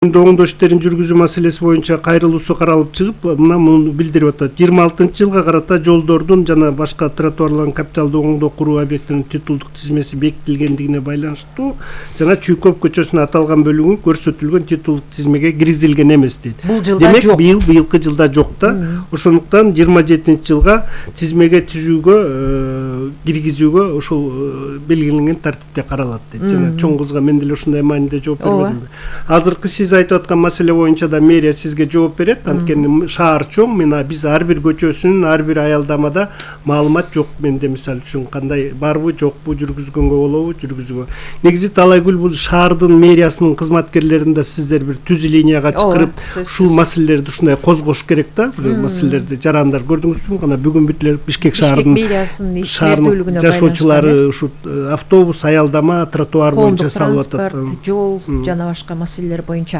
оңдоо иштерин жүргүзүү маселеси боюнча кайрылуусу каралып чыгып, муну билдирип атат. 26-жылга карата жолдордун жана башка тротуарлардын капиталдуу оңдоо куруу объектинин титулдук тизмеси бекитилгендигине байланыштуу жана Чүйкөп көчөсүнө аталган бөлүгү көрсөтүлгөн титулдук тизмеге киргизилген эмес дейт. Демек, быйылкы жылда жок да. Ошондуктан 27-жылга тизмеге түзүүгө, киргизүүгө ошол белгиленген тартипте каралат дейт. Жана чоң кызга мен деле ушундай мааниде жооп бербедимби? Азыркы сиз айтып аткан маселе боюнча да мэрия сизге жооп берет. Анткени шаар чоң, биз ар бир көчөсүнүн, ар бир аялдамада маалымат жок. Менде мисалы үчүн кандай барбы, жокпу, жүргүзгөнгө болобу, жүргүзүүгө. Негизи Талайгүл бул шаардын мэриясынын кызматкерлерин да сиздер бир түз линияга чакырып, ушул маселелерди ушундай козгош керек да. Бул маселелерди жарандар көрдүңүзбү? Кана бүгүн бүт эле Бишкек шаарынын мэриясынын ишмердүүлүгүнө жашоочулары ушу автобус, аялдама, тротуар боюнча салып атат. Жол жана башка маселелер боюнча.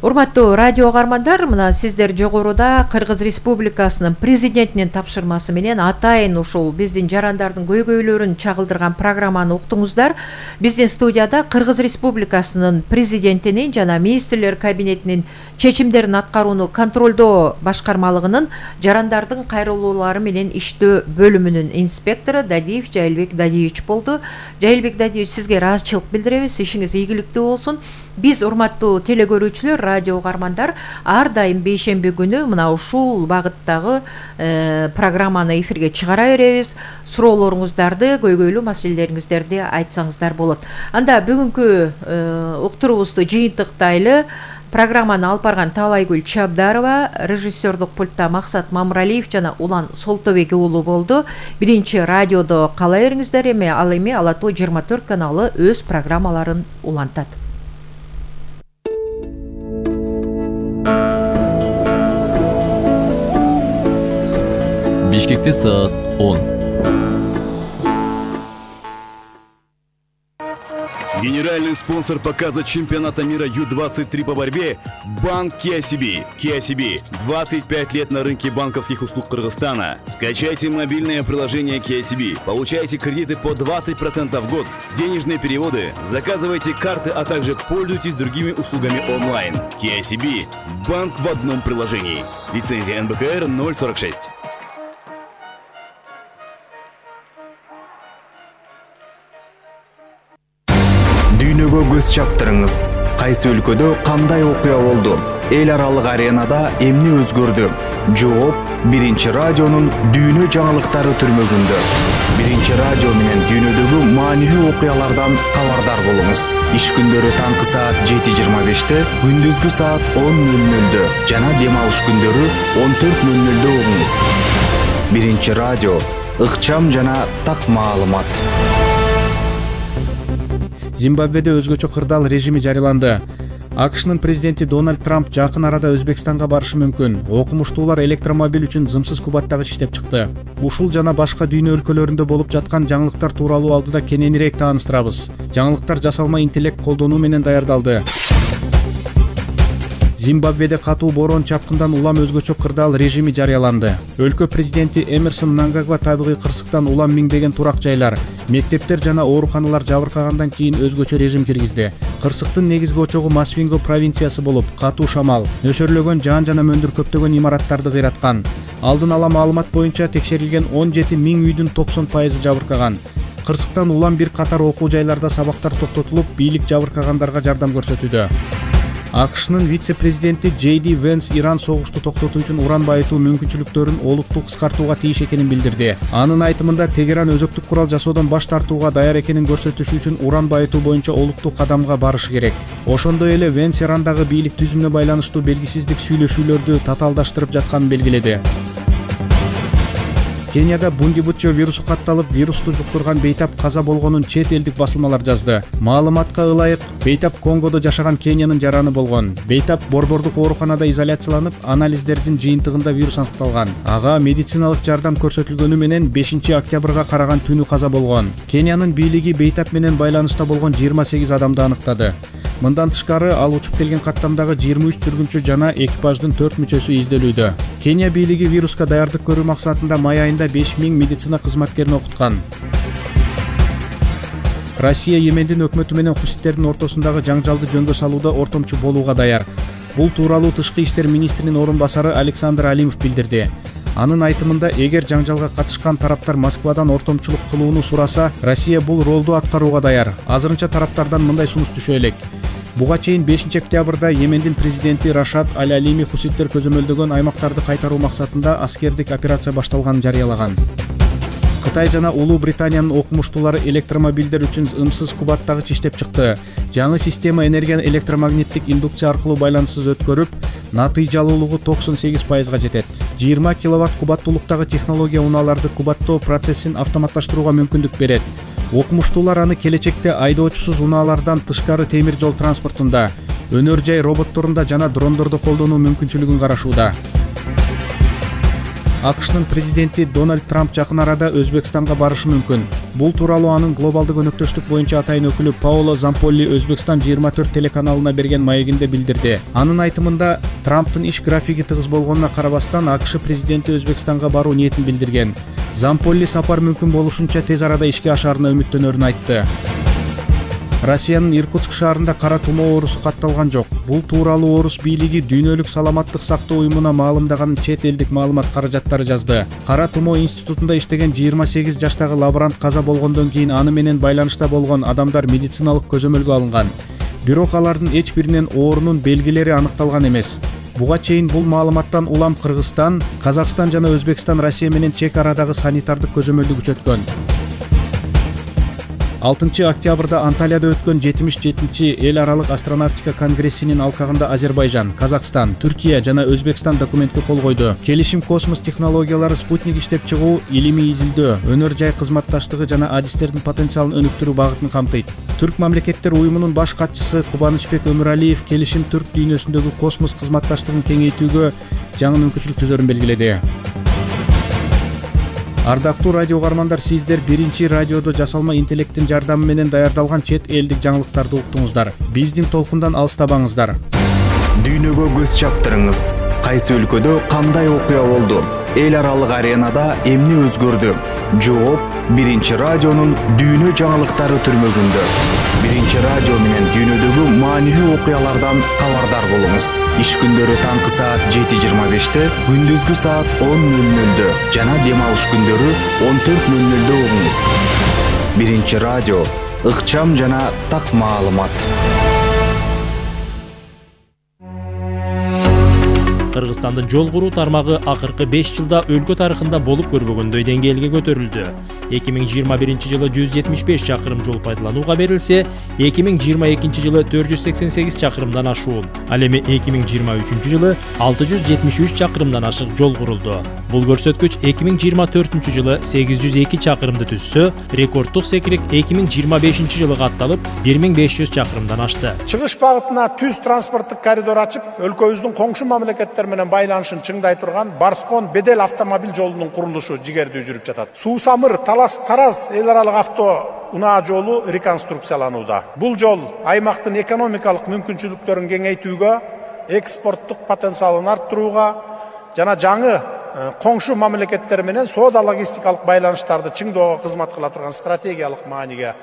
Урматтуу радио угармандар, мына сиздер жогоруда Кыргыз Республикасынын президентинин тапшырмасы менен атайын ушул биздин жарандардын көйгөйлөрүн чагылдырган программаны уктуңуздар. Биздин студияда Кыргыз Республикасынын президентинин жана министрлер кабинетинин чечимдерин аткарууну контролдоо башкармалыгынын жарандардын кайрылуулары менен иштөө бөлүмүнүн инспектору Дадиев Жайылбек Дадиевич болду. Жайылбек Дадиевич, сизге ыраазычылык билдиребиз. Ишиңиз ийгиликтүү болсун. Биз, урматтуу телекөрүүчүлөр, радио угармандар, ар дайым бейшемби күнү мына ушул багыттагы программаны эфирге чыгара беребиз. Суроолоруңуздарды, көйгөйлүү маселелериңиздерди айтсаңыздар болот. Анда бүгүнкү уктуруубузду жыйынтыктайлы. Программаны алып барган Талайгүл Чабдарова, режиссердук пультта Максат Мамыралиев жана Улан Солтобек уулу болду. Биринчи радиодо кала бериңиздер. Ал эми Ала Тоо 24 каналы өз программаларын улантат. Бишкекте саат 10. Генеральный спонсор показа чемпионата мира Ю-23 по борьбе – Банк KCB. KCB – 25 лет на рынке банковских услуг Кыргызстана. Скачайте мобильное приложение KCB, получайте кредиты по 20% в год, денежные переводы, заказывайте карты, а также пользуйтесь другими услугами онлайн. KCB – банк в одном приложении. Лицензия НБКР 046. Дүйнөгө көз чаптырыңыз. Кайсы өлкөдө кандай окуя болду? Эл аралык аренада эмне өзгөрдү? Жооп Биринчи радионун дүйнө жаңылыктары түрмөгүндө. Биринчи радио менен дүйнөдөгү маанилүү окуялардан кабардар болуңуз. Иш күндөрү таңкы саат 7:25, күндүзгү саат 10:00 жана дем алыш күндөрү 14:00 угуңуз. Биринчи радио ыкчам жана так маалымат. Зимбабведе өзгөчө кырдаал режими жарыяланды. АКШнын президенти Дональд Трамп жакын арада Өзбекстанга барышы мүмкүн. Окумуштуулар электромобиль үчүн зымсыз кубаттагыч иштеп чыкты. Ушул жана башка дүйнө өлкөлөрүндө болуп жаткан жаңылыктар тууралуу алдыда кененирээк тааныштырабыз. Жаңылыктар жасалма интеллект колдонуу менен даярдалды. Зимбабведе катуу борон чапкындан улам өзгөчө кырдаал режими жарыяланды. Өлкө президенти Эмерсон Мнангагва табигый кырсыктан улам миңдеген турак жайлар, мектептер жана ооруканалар жабыркагандан кийин өзгөчө режим киргизди. Кырсыктын негизги очогу Масвинго провинциясы болуп, катуу шамал, нөшөрлөгөн жаан жана мөндүр көптөгөн имараттарды кыйраткан. Алдын ала маалымат боюнча текшерилген 17 000 үйдүн 90% жабыркаган. Кырсыктан улам бир катар окуу жайларда сабактар токтотулуп, бийлик жабыркагандарга жардам көрсөтүүдө. АКШнын вице-президенти Джейди Венс Иран согушту токтотуу үчүн уран байытуу мүмкүнчүлүктөрүн олуттуу кыскартууга тийиш экенин билдирди. Анын айтымында Тегеран өзөктүк курал жасоодон баш тартууга даяр экенин көрсөтүш үчүн уран байытуу боюнча олуттуу кадамга барышы керек. Ошондой эле Венс Ирандагы бийлик түзүмүнө байланыштуу белгисиздик сүйлөшүүлөрдү татаалдаштырып жатканын белгиледи. Кенияда Бундибутчо вирусу катталып, вирусту жуктурган бейтап каза болгонун чет элдик басылмалар жазды. Маалыматка ылайык, бейтап Конгодо жашаган Кениянын жараны болгон. Бейтап борбордук ооруканада изоляцияланып, анализдердин жыйынтыгында вирус аныкталган. Ага медициналык жардам көрсөтүлгөнү менен 5 октябрга караган түнү каза болгон. Кениянын бийлиги бейтап менен байланышта болгон 28 адамды аныктады. Мындан тышкары ал учуп келген каттамдагы 23 жүргүнчү жана экипаждын 4 мүчөсү изделүүдө. Кения бийлиги вируска даярдык көрүү максатында май айында 5000 медицина кызматкерин окуткан. Россия Йемендин өкмөтү менен хуситтердин ортосундагы жаңжалды жөнгө салууда ортомчу болууга даяр. Бул тууралуу Тышкы иштер министринин орун басары Александр Алимов билдирди. Анын айтымында, эгер жаңжалга катышкан тараптар Москвадан ортомчулук кылууну сураса, Россия бул ролду аткарууга даяр. Азырынча тараптардан мындай сунуш түшө элек. Буга чейин 5 октябрда Йемендин президенти Рашад Аль-Алими хуситтер көзөмөлдөгөн аймактарды кайтаруу максатында аскердик операция башталганын жарыялаган. Кытай жана Улуу Британиянын окумуштуулары электромобилдер үчүн ымсыз кубаттагыч иштеп чыкты. Жаңы система энергияны электромагниттик индукция аркылуу байланыссыз өткөрүп, натыйжалуулугу 98%га жетет. 20 киловатт кубаттуулуктагы технология унааларды кубаттоо процессин автоматташтырууга мүмкүндүк берет. Окумуштуулар аны келечекте айдоочусуз унаалардан тышкары темир жол транспортунда, өнөр жай роботторунда жана дрондордо колдонуу мүмкүнчүлүгүн карашууда. АКШнын президенти Дональд Трамп жакын арада Өзбекстанга барышы мүмкүн. Бул тууралуу анын глобалдык өнөктөштүк боюнча атайын өкүлү Паоло Замполли Өзбекстан 24 телеканалына берген маегинде билдирди. Анын айтымында, Трамптын иш графиги тыгыз болгонуна карабастан АКШ президенти Өзбекстанга баруу ниетин билдирген. Замполли сапар мүмкүн болушунча тез арада ишке ашаарына үмүттөнөрүн айтты. Россиянын Иркутск шаарында кара тумоо оорусу катталган жок. Бул тууралуу орус бийлиги Дүйнөлүк саламаттык сактоо уюмуна маалымдаганын чет элдик маалымат каражаттары жазды. Кара тумоо институтунда иштеген 28 жаштагы лаборант каза болгондон кийин аны менен байланышта болгон адамдар медициналык көзөмөлгө алынган. Бирок алардын эч биринен оорунун белгилери аныкталган эмес. Буга чейин бул маалыматтан улам Кыргызстан, Казакстан жана Өзбекстан Россия менен чек арадагы санитардык көзөмөлдү күчөткөн. 6 октябрда Анталияда өткөн 77-чи эл аралык астронавтика конгрессинин алкагында Азербайжан, Казакстан, Түркия жана Өзбекстан документке кол койду. Келишим космос технологиялары спутник иштеп чыгуу, илимий изилдөө, өнөр жай кызматташтыгы жана адистердин потенциалын өнүктүрүү багытын камтыйт. Түрк мамлекеттер уюмунун баш катчысы Кубанычбек Өмүралиев келишим түрк дүйнөсүндөгү космос кызматташтыгын кеңейтүүгө жаңы мүмкүнчүлүк түзөрүн белгиледи. Ардактуу радио угармандар, сиздер биринчи радиодо жасалма интеллекттин жардамы менен даярдалган чет элдик жаңылыктарды уктуңуздар. Биздин толкундан алыстабаңыздар. Дүйнөгө көз чаптырыңыз. Кайсы өлкөдө кандай окуя болду? Эл аралык аренада эмне өзгөрдү? Жооп биринчи радионун дүйнө жаңылыктары түрмөгүндө. Биринчи радио менен дүйнөдөгү маанилүү окуялардан кабардар болуңуз. Иш күндөрү таңкы саат 7:25-те, күндүзгү саат 10:00-дө жана дем алыш күндөрү 14:00-дө угуңуз. Биринчи радио, ыкчам жана так маалымат. Кыргызстандын жол куруу тармагы акыркы 5 жылда өлкө тарыхында болуп көрбөгөндөй деңгээлге көтөрүлдү. 2021 жылы 175 чакырым жол пайдаланууга берилсе, 2022 жылы 488 чакырымдан ашуун. Ал эми 2023 жылы 673 чакырымдан ашык жол курулду. Бул көрсөткүч 2024 жылы 802 чакырымды түзсө, рекорддук секирик 2025 жылы катталып 1500 чакырымдан ашты. Чыгыш багытына түз транспорттук коридор ачып, өлкөбүздүн коңшу мамлекеттер менен байланышын чыңдай турган Барскон Бедел автомобиль жолунун курулушу жигердүү жүрүп жатат. Суу-Самыр Талас-Тараз эл аралык авто унаа жолу реконструкцияланууда. Бул жол аймактын экономикалык мүмкүнчүлүктөрүн кеңейтүүгө, экспорттук потенциалын арттырууга жана жаңы коңшу мамлекеттер менен соода-логистикалык байланыштарды чыңдоого кызмат кыла турган стратегиялык мааниге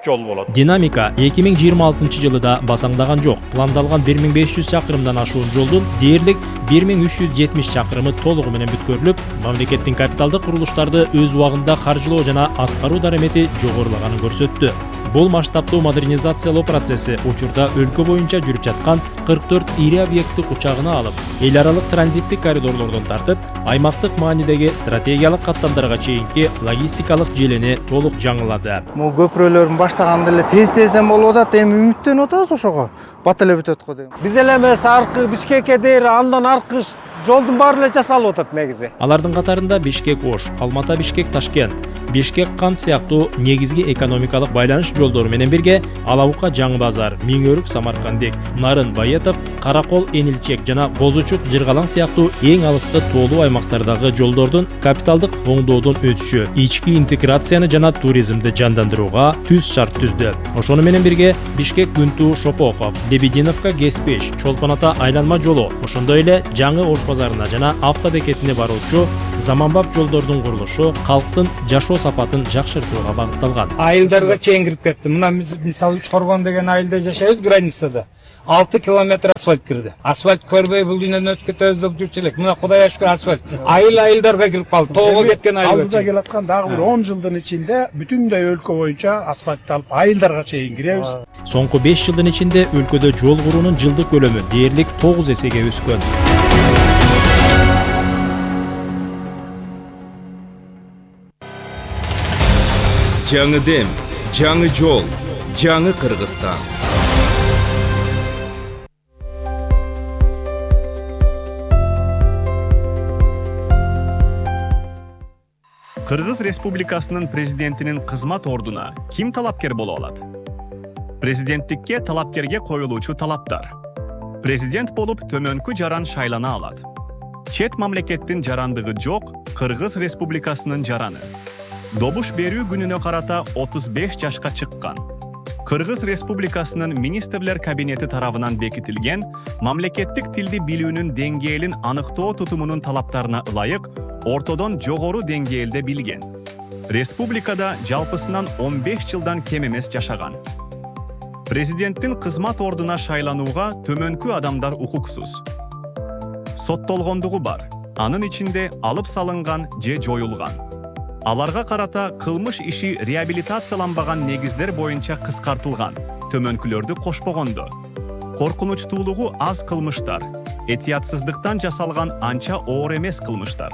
жол болот. Динамика 2026 жылда басаңдаган жок. Пландалган 1500 чакырымдан ашуун жолдун дээрлик 1370 чакырымы толугу менен бүткөрүлүп, мамлекеттин капиталдык курулуштарды өз убагында каржылоо жана аткаруу дарамети жогорулаганын көрсөттү. Бул масштабтуу модернизациялоо процесси учурда өлкө боюнча жүрүп жаткан 44 ири объектти кучагына алып, эл аралык транзиттик коридорлордон тартып, аймактык маанидеги стратегиялык каттамдарга чейинки логистикалык желени толук жаңылады. Могу көпүрөлөрдүн баштаганда эле тез-тезден болуп атат, эми үмүттөнүп атабыз ошого. Бат эле бүтөт го дейм. Биз эле эмес аркы Бишкекке дейин андан аркы жолдун баары эле жасалып атат негизи. Алардын катарында Бишкек-Ош, Алмата-Бишкек-Ташкент, Бишкек-Кант сыяктуу негизги экономикалык байланыш жолдору менен бирге Алабука-Жаңы базар, Миңөрүк-Самаркандек, Нарын-Байетов, Каракол-Энилчек жана Бозучук-Жыргалаң сыяктуу эң алыскы тоолуу аймактардагы жолдордун капиталдык оңдоодон өтүшү ички интеграцияны жана туризмди жандандырууга түз шарт түздү. Ошону менен бирге Бишкек-Күнту-Шопоков, Лебединовка-Геспеш, Чолпон-Ата айланма жолу, ошондой эле жаңы Ош базарына жана автобекетине баруучу заманбап жолдордун курулушу калктын жашоо сапатын жакшыртууга багытталган. Айылдарга чейин кирип кетти. Мына мисалы Үч Коргон деген айылда жашайбыз, границада. 6 километр асфальт кирди. Асфальт көрбөй бул дүйнөдөн өтүп кетебиз деп жүрчү элек. Мына Кудайга шүкүр асфальт. Айылдарга кирип калды. Тоого кеткен айыл. Алдыда келаткан дагы бир 10 жылдын ичинде бүтүндөй өлкө боюнча асфальтталып айылдарга чейин киребиз. Соңку 5 жылдын ичинде өлкөдө жол куруунун жылдык көлөмү дээрлик 9 эсеге өскөн. Жаңы дем, жаңы жол, жаңы Кыргызстан. Кыргыз Республикасынын президентинин кызмат ордуна ким талапкер боло алат? Президенттикке талапкерге коюлуучу талаптар. Президент болуп төмөнкү жаран шайлана алат. Чет мамлекеттин жарандыгы жок Кыргыз Республикасынын жараны. Добуш берүү күнүнө карата 35 жашка чыккан. Кыргыз Республикасынын министрлер кабинети тарабынан бекитилген мамлекеттик тилди билүүнүн деңгээлин аныктоо тутумунун талаптарына ылайык ортодон жогору деңгээлде билген. Республикада жалпысынан 15 жылдан кем эмес жашаган. Президенттин кызмат ордуна шайланууга төмөнкү адамдар укуксуз. Соттолгондугу бар. Анын ичинде алып салынган же жоюлган. Аларга карата кылмыш иши реабилитацияланбаган негиздер боюнча кыскартылган. Төмөнкүлөрдү кошпогондо. Коркунучтуулугу аз кылмыштар, этиятсыздыктан жасалган анча оор эмес кылмыштар.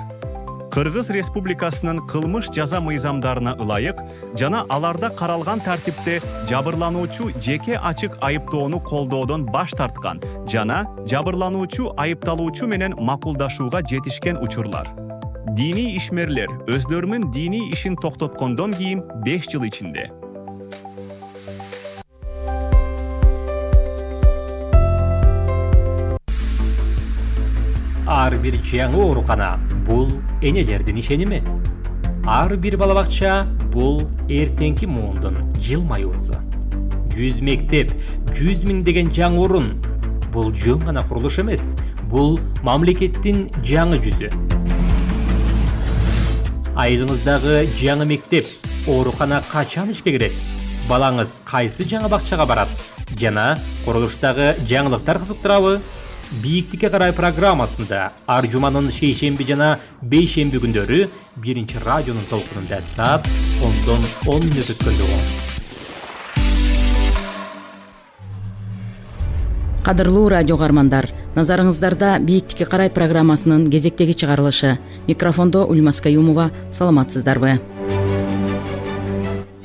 Кыргыз Республикасынын кылмыш жаза мыйзамдарына ылайык жана аларда каралган тартипте жабырлануучу жеке ачык айыптоону колдоодон баш тарткан жана жабырлануучу айыпталуучу менен макулдашууга жетишкен учурлар. Дини ишмерлер өздөрүнүн дини ишин токтоткондон кийин 5 жыл ичинде. Ар бир жаңы оорукана бул энелердин ишеними. Ар бир бала бакча бул эртеңки муундун жылмаюусу. 100 мектеп, 100 миң деген жаңы орун. Бул жөн гана курулуш эмес, бул мамлекеттин жаңы жүзү. Айылыңыздагы жаңы мектеп, оорукана качан ишке кирет? Балаңыз кайсы жаңы бакчага барат? Жана курулуштагы жаңылыктар кызыктырабы? Бийиктикке карай программасында ар жуманын шейшемби жана бейшемби күндөрү 1 радионун толкунунда саат 10дон 10 мүнөт өткөндө. Кадырлуу радио каармандар, назарыңыздарда Бийиктикке карай программасынын кезектеги чыгарылышы. Микрофондо Ульмас Каюмова, саламатсыздарбы?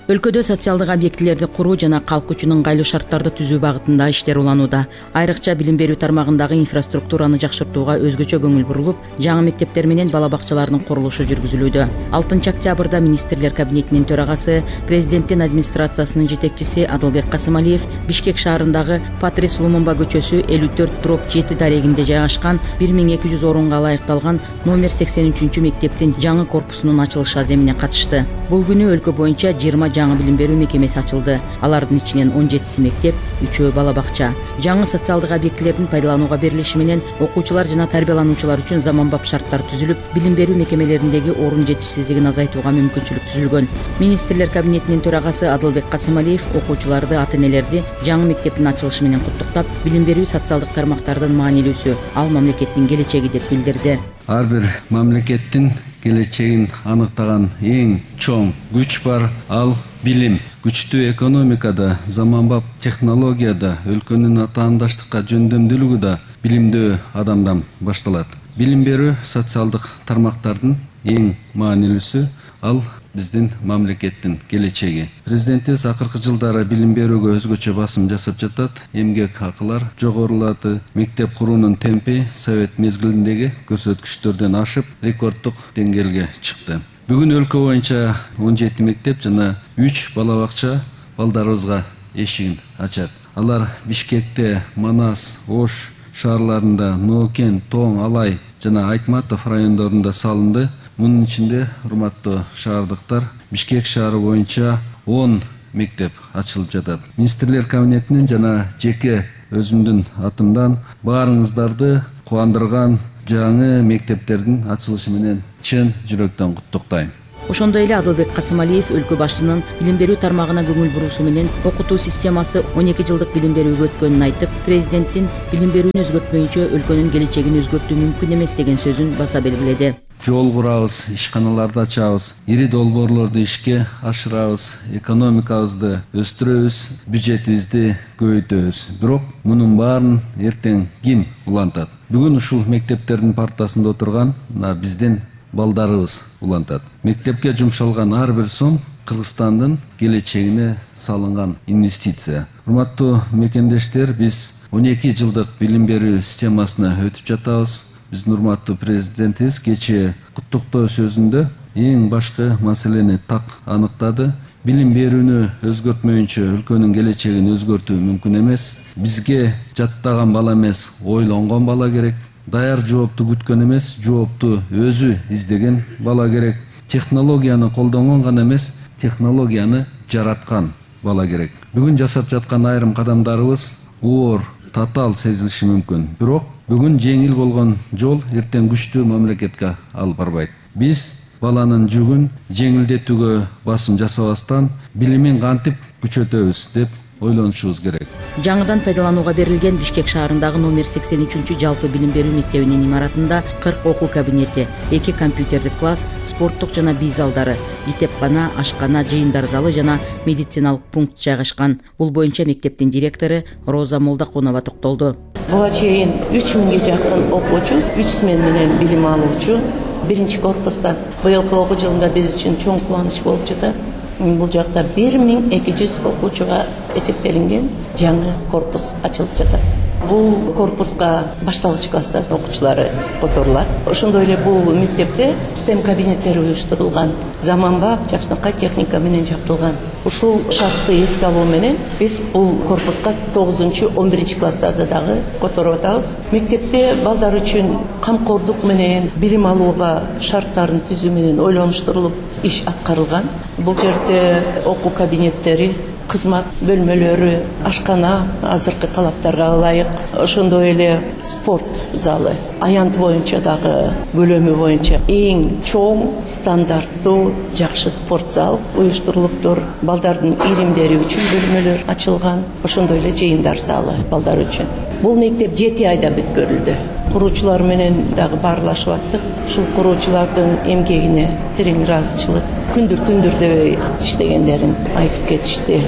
Өлкөдө социалдык объектилерди куруу жана калк үчүн ыңгайлуу шарттарды түзүү багытында иштер уланууда. Айрыкча билим берүү тармагындагы инфраструктураны жакшыртууга өзгөчө көңүл бурулуп, жаңы мектептер менен бала бакчаларынын курулушу жүргүзүлүүдө. 6 октябрда министрлер кабинетинин төрагасы, президенттин администрациясынын жетекчиси Адылбек Касымалиев Бишкек шаарындагы Патрис Лумумба көчөсү 54/7 дарегинде жайгашкан 1200 орунга ылайыкталган номер 83 мектептин жаңы корпусунун ачылыш аземине катышты. Бул күнү өлкө боюнча 20 жаңы билим берүү мекемеси ачылды. Алардын ичинен 17 мектеп, 3 бала бакча. Жаңы социалдык объектилердин пайдаланууга берилиши менен окуучулар жана тарбиялануучулар үчүн заманбап шарттар түзүлүп, билим берүү мекемелериндеги орун жетишсиздигин азайтууга мүмкүнчүлүк түзүлгөн. Министрлер кабинетинин төрагасы Адылбек Касымалиев окуучуларды, ата-энелерди жаңы мектептин ачылышы менен куттуктап, билим берүү социалдык тармактардын маанилүүсү, ал мамлекеттин келечеги деп билдирди. Ар бир мамлекеттин келечегин аныктаган эң чоң күч бар, ал билим. Күчтүү экономикада, заманбап технологияда, өлкөнүн атаандаштыкка жөндөмдүүлүгү да билимдүү адамдан башталат. Билим берүү социалдык тармактардын эң маанилүүсү, ал биздин мамлекеттин келечеги. Президентибиз акыркы жылдары билим берүүгө өзгөчө басым жасап жатат. Эмгек акылар жогорулады. Мектеп куруунун темпи совет мезгилиндеги көрсөткүчтөрдөн ашып, рекорддук деңгээлге чыкты. Бүгүн өлкө боюнча 17 мектеп жана 3 бала бакча балдарыбызга эшигин ачат. Алар Бишкекте, Манас, Ош шаарларында, Ноокен, Тоң, Алай жана Айтматов райондорунда салынды. Мунун ичинде, урматтуу шаардыктар, Бишкек шаары боюнча 10 мектеп ачылып жатат. Министрлер кабинетинин жана жеке өзүмдүн атымдан баарыңыздарды кубандырган жаңы мектептердин ачылышы менен чын жүрөктөн куттуктайм. Ошондой эле Адылбек Касымалиев өлкө башчынын билим берүү тармагына көңүл буруусу менен окутуу системасы 12 жылдык билим берүүгө өткөнүн айтып, президенттин билим берүүнү өзгөртмөйүнчө өлкөнүн келечегин өзгөртүү мүмкүн эмес деген сөзүн баса белгиледи. Жол курабыз, ишканаларды ачабыз, ири долбоорлорду ишке ашырабыз, экономикабызды өстүрөбүз, бюджетибизди көбөйтөбүз. Бирок мунун баарын эртең ким улантат? Бүгүн ушул мектептердин партасында отурган биздин балдарыбыз улантат. Мектепке жумшалган ар бир сом Кыргызстандын келечегине салынган инвестиция. Урматтуу мекендештер, биз 12 жылдык билим берүү системасына өтүп жатабыз. Биздин урматтуу президентибиз кечээ куттуктоо сөзүндө эң башкы маселени так аныктады. Билим берүүнү өзгөртмөйүнчө өлкөнүн келечегин өзгөртүү мүмкүн эмес. Бизге жаттаган бала эмес, ойлонгон бала керек. Даяр жоопту күткөн эмес, жоопту өзү издеген бала керек. Технологияны колдонгон гана эмес, технологияны жараткан бала керек. Бүгүн жасап жаткан айрым кадамдарыбыз оор, татаал сезилиши мүмкүн. Бирок бүгүн жеңил болгон жол эртең күчтүү мамлекетке алып барбайт. Биз баланын жүгүн жеңилдетүүгө басым жасабастан билимин кантип күчөтөбүз деп ойлонушубуз керек. Жаңыдан пайдаланууга берилген Бишкек шаарындагы номер 83 жалпы билим берүү мектебинин имаратында 40 окуу кабинети, 2 компьютердик класс, спорттук жана бий залдары, итепкана, ашкана, жыйындар залы жана медициналык пункт жайгашкан. Бул боюнча мектептин директору Роза Молдакунова токтолду. Буга чейин 3000ге жакын окуучу, 3 смен менен билим алуучу биринчи корпуста. Быйылкы окуу жылында биз үчүн чоң кубаныч болуп жатат. Бул жакта 1200 окуучуга эсептелинген жаңы корпус ачылып жатат. Бул корпуска башталгыч класстардын окуучулары которулат. Ошондой эле бул мектепте STEM кабинеттери уюштурулган, заманбап жакшынакай техника менен жабдылган. Ушул шартты эске алуу менен биз бул корпуска 9-11 класстарды дагы которуп атабыз. Мектепте балдар үчүн камкордук менен билим алууга шарттарын түзүү менен ойлонуштурулуп иш аткарылган. Бул жерде окуу кабинеттери, кызмат бөлмөлөрү, ашкана азыркы талаптарга ылайык, ошондой эле спорт залы, аянт боюнча дагы бөлөмү боюнча эң чоң, стандарттуу, жакшы спорт зал уюштурулуптур. Балдардын иримдери үчүн бөлмөлөр ачылган, ошондой эле жыйындар залы балдар үчүн. Бул мектеп 7 айда бүткөрүлдү. Куруучулар менен дагы баарлашып аттык. Ушул куруучулардын эмгегине терең ыраазычылык, күндүр түндүр дебей иштегендерин айтып кетишти.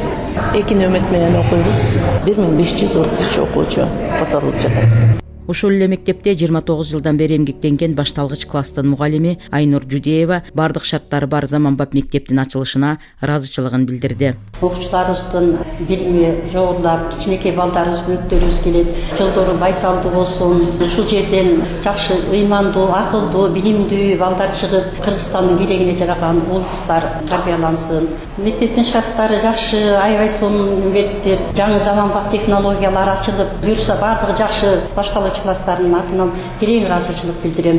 2 нөмөт менен окуйбуз. 1533 окуучу которулуп жатат. Ушул эле мектепте 29 жылдан бери эмгектенген башталгыч класстын мугалими Айнур Жудеева бардык шарттары бар заманбап мектептин ачылышына ыраазычылыгын билдирди. Окуучуларыбыздын билими жогорулап, кичинекей балдарыбыз бөөктөрүбүз келет. Жолдору байсалдуу болсун. Ушул жерден жакшы ыймандуу, акылдуу, билимдүү балдар чыгып, Кыргызстандын келегине жараган уул кыздар тарбиялансын. Мектептин шарттары жакшы, аябай сонун бериптир. Жаңы заманбап технологиялар ачылып, буюрса бардыгы жакшы башталгыч класстардын атынан терең ыраазычылык билдирем.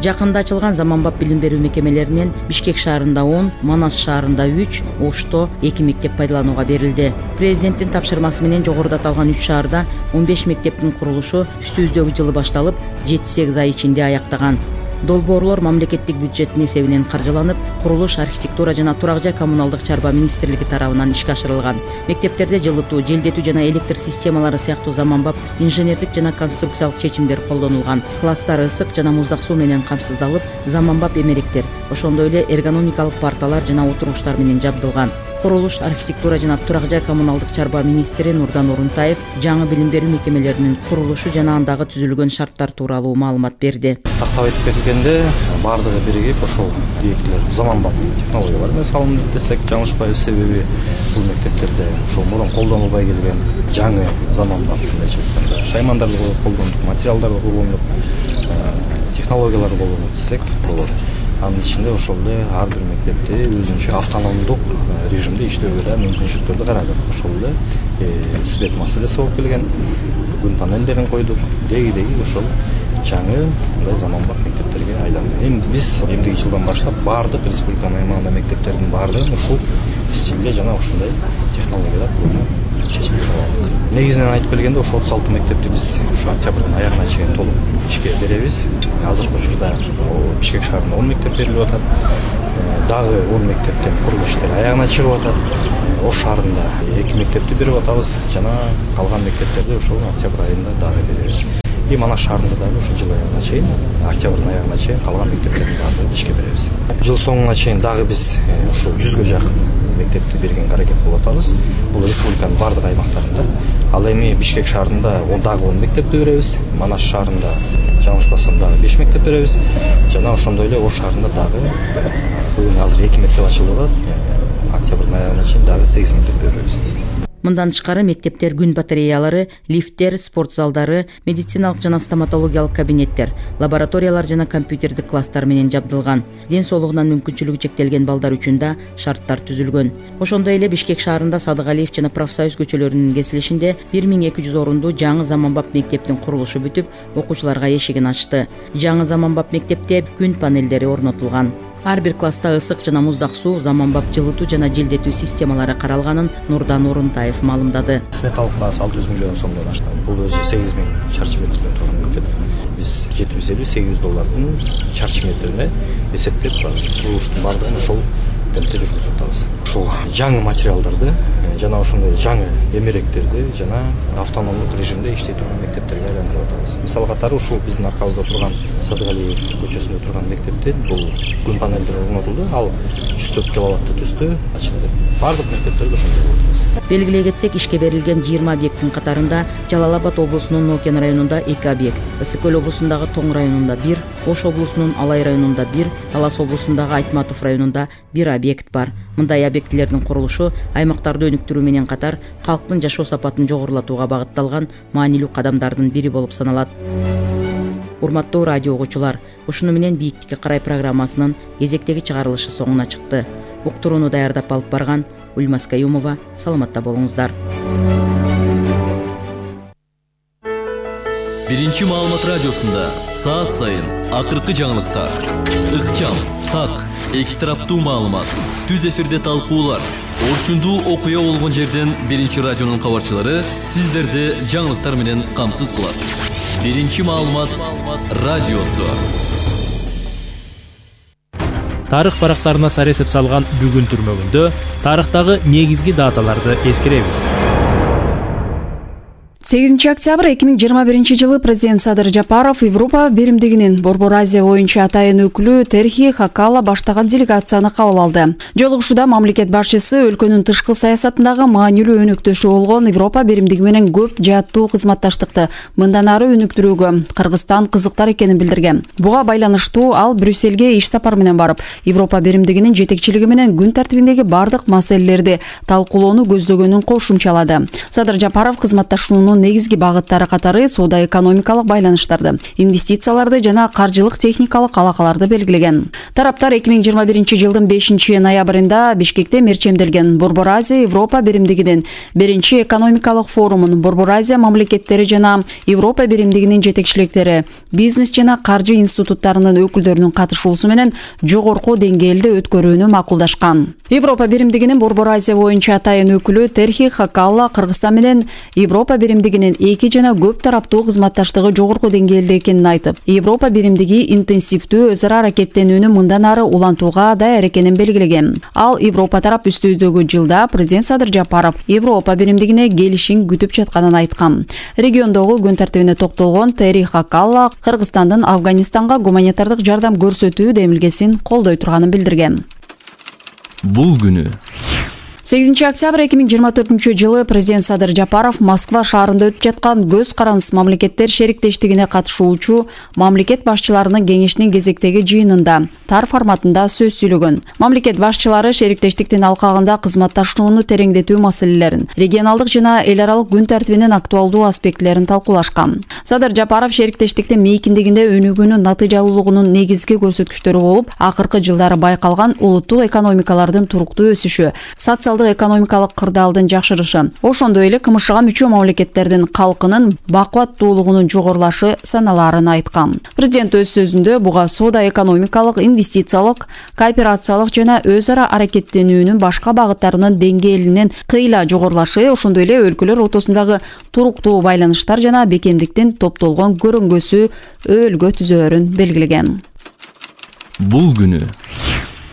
Жакында ачылган заманбап билим берүү мекемелеринен Бишкек шаарында 10, Манас шаарында 3, Ошто 2 мектеп пайдаланууга берилди. Президенттин тапшырмасы менен жогоруда аталган 3 шаарда 15 мектептин курулушу үстүбүздөгү жылы башталып, 7-8 ай ичинде аяктаган. Долбоорлор мамлекеттик бюджеттин эсебинен каржыланып, курулуш, архитектура жана турак жай коммуналдык чарба министрлиги тарабынан ишке ашырылган. Мектептерде жылытуу, желдетүү жана электр системалары сыяктуу заманбап инженердик жана конструкциялык чечимдер колдонулган. Класстар ысык жана муздак суу менен камсыздалып, заманбап эмеректер, ошондой эле эргономикалык парталар жана отургучтар менен жабдылган. Курулуш, архитектура жана турак жай коммуналдык чарба министри Нурдан Орунтаев жаңы билим берүү мекемелеринин курулушу жана андагы түзүлгөн шарттар тууралуу маалымат берди. Тактап айтып кетилгенде, бардыгы биригип ошол объектилер заманбап технологиялар менен салынды десек жаңылышпайбыз. Себеби бул мектептерде ошол мурун колдонулбай келген жаңы заманбап шаймандарды колдондук, материалдарды колдондук, технологиялар колдондук десек болот. Анын ичинде ошол эле ар бир мектепте өзүнчө автономдук режимде иштөөгө да мүмкүнчүлүктөрдү карадык. Ошол эле свет маселеси болуп келген, күн панелдерин койдук, деги ошол жаңы мындай заманбап мектептерге айланды. Эми биз эмдиги жылдан баштап бардык республиканын аймагында мектептердин баардыгын ушул стилде жана ушундай технологиялар чечим кабыл алдык. Негизинен айтып келгенде ошо 36 мектепти биз ушу октябрдын аягына чейин толук ишке беребиз. Азыркы учурда Бишкек шаарында 10 мектеп берилип атат. Дагы 10 мектептен курулуш иштери аягына чыгып атат. Ош шаарында 2 мектепти берип атабыз жана калган мектептерди ошол октябрь айында дагы беребиз. И Манаш шаарында дагы ушул жыл аягына чейин, октябрдын аягына чейин калган мектептерди дагы ишке беребиз. Жыл соңуна чейин дагы биз ушул 100гө жакын мектепти бергенге аракет кылып атабыз. Бул республиканын бардык аймактарында. Ал эми Бишкек шаарында дагы 10 мектепти беребиз. Манаш шаарында жаңылышпасам дагы 5 мектеп беребиз. Жана ошондой эле Ош шаарында дагы бүгүн азыр 2 мектеп ачылып атат. Октябрдын аягына чейин дагы 8 мектеп беребиз. Мындан тышкары мектептер күн батареялары, лифттер, спорт залдары, медициналык жана стоматологиялык кабинеттер, лабораториялар жана компьютердик класстар менен жабдылган. Ден соолугунан мүмкүнчүлүгү чектелген балдар үчүн да шарттар түзүлгөн. Ошондой эле Бишкек шаарында Садыгалиев жана Профсоюз көчөлөрүнүн кесилишинде 1200 орунду жаңы заманбап мектептин курулушу бүтүп, окуучуларга эшигин ачты. Жаңы заманбап мектепте күн панелдери орнотулган. Ар бир класста ысык жана муздак суу, заманбап жылытуу жана желдетүү системалары каралганын Нурдан Орунтаев маалымдады. Сметалык баасы 600 миллион сомдон ашты. Бул өзү 8000 чарчы метрден турган мектеп. Биз $750-800 чарчы метрине эсептеп курулуштун бардыгын ошол темпте жүргүзүп атабыз. Ушул жаңы материалдарды жана ошондой жаңы эмеректерди жана автономдук режимде иштей турган мектептерге айландырып атабыз. Мисал катары ушул биздин аркабызда турган Садыгалиев көчөсүндө турган мектепте бул күн панелдери орнотулду. Ал 104 киловатты түстө ачылды. Бардык мектептерде ошондой болот. Белгилей кетсек, ишке берилген 20 объекттин катарында Жалал Абад облусунун Нокен районунда 2 объект, Ысык Көл облусундагы Тоң районунда 1, Ош облусунун Алай районунда 1, Талас облусундагы Айтматов районунда 1 объект бар. Мындай объектилердин курулушу аймактарды өнүктүрүү менен катар калктын жашоо сапатын жогорулатууга багытталган маанилүү кадамдардын бири болуп саналат. Урматтуу радио угуучулар, ушуну менен Бийиктикке карай программасынын кезектеги чыгарылышы соңуна чыкты. Уктурууну даярдап алып барган Ульмас Каюмова, саламатта болуңуздар. Биринчи маалымат радиосунда саат сайын акыркы жаңылыктар, ыкчам, так, эки тараптуу маалымат, түз эфирде талкуулар, орчундуу окуя болгон жерден Биринчи радионун кабарчылары сиздерди жаңылыктар менен камсыз кылат. Биринчи маалымат радиосу. Тарых барактарына саресеп салган бүгүн түрмөгүндө тарыхтагы негизги даталарды эскеребиз. 8 октябрь 2021 президент Садыр Жапаров Европа биримдигинин Борбор Азия боюнча атайын өкүлү Терхи Хакала баштаган делегацияны кабыл алды. Жолугушууда мамлекет башчысы өлкөнүн тышкы саясатындагы маанилүү өнөктөшү болгон Европа биримдиги менен көп жааттуу кызматташтыкты мындан ары өнүктүрүүгө Кыргызстан кызыктар экенин билдирген. Буга байланыштуу ал Брюссельге иш сапар менен барып, Европа биримдигинин жетекчилиги менен күн тартибиндеги бардык маселелерди талкуулоону көздөгөнүн кошумчалады. Садыр Жапаров кызматташуунун негизги багыттары катары соода-экономикалык байланыштарды, инвестицияларды жана каржылык техникалык алакаларды белгилеген. Тараптар 2021 жылдын 5 ноябрында Бишкекте мерчемделген Борбор Азия Европа биримдигинин 1 экономикалык форумун Борбор Азия мамлекеттери жана Европа биримдигинин жетекчиликтери, бизнес жана каржы институттарынын өкүлдөрүнүн катышуусу менен жогорку деңгээлде өткөрүүнү макулдашкан. Европа биримдигинин Борбор Азия боюнча атайын өкүлү Терхи Хакала Кыргызстан менен Европа биримдигинин эки жана көп тараптуу кызматташтыгы жогорку деңгээлде экенин айтып, Европа биримдиги интенсивдүү өз ара аракеттенүүнү мындан ары улантууга даяр экенин белгилеген. Ал Европа тарап үстүздөгү жылда президент Садыр Жапаров Европа биримдигине келишин күтүп жатканын айткан. Региондогу күн тартибине токтолгон Терхи Хакала Кыргызстандын Афганистанга гуманитардык жардам көрсөтүү демилгесин колдой турганын билдирген. Бул күнү 8 октябрь 2024 жылы президент Садыр Жапаров Москва шаарында өтүп жаткан көз карандысыз мамлекеттер шериктештигине катышуучу мамлекет башчыларынын кеңешинин кезектеги жыйынында тар форматында сөз сүйлөгөн. Мамлекет башчылары шериктештиктин алкагында кызматташууну тереңдетүү маселелерин, регионалдык жана эл аралык күн тартибинин актуалдуу аспектилерин талкуулашкан. Садыр Жапаров шериктештиктин мейкиндигинде өнүгүүнүн натыйжалуулугунун негизги көрсөткүчтөрү болуп, акыркы жылдары байкалган улуттук экономикалардын туруктуу өсүшү, социалдык социалдык экономикалык кырдаалдын жакшырышы, ошондой эле кмшга мүчө мамлекеттердин калкынын бакубаттуулугунун жогорулашы саналарын айткан. Президент өз сөзүндө буга соода экономикалык, инвестициялык, кооперациялык жана өз ара аракеттенүүнүн башка багыттарынын деңгээлинин кыйла жогорулашы, ошондой эле өлкөлөр ортосундагы туруктуу байланыштар жана бекемдиктин топтолгон көрүнгөсү өөлгө түзөөрүн белгилеген. Бул күнү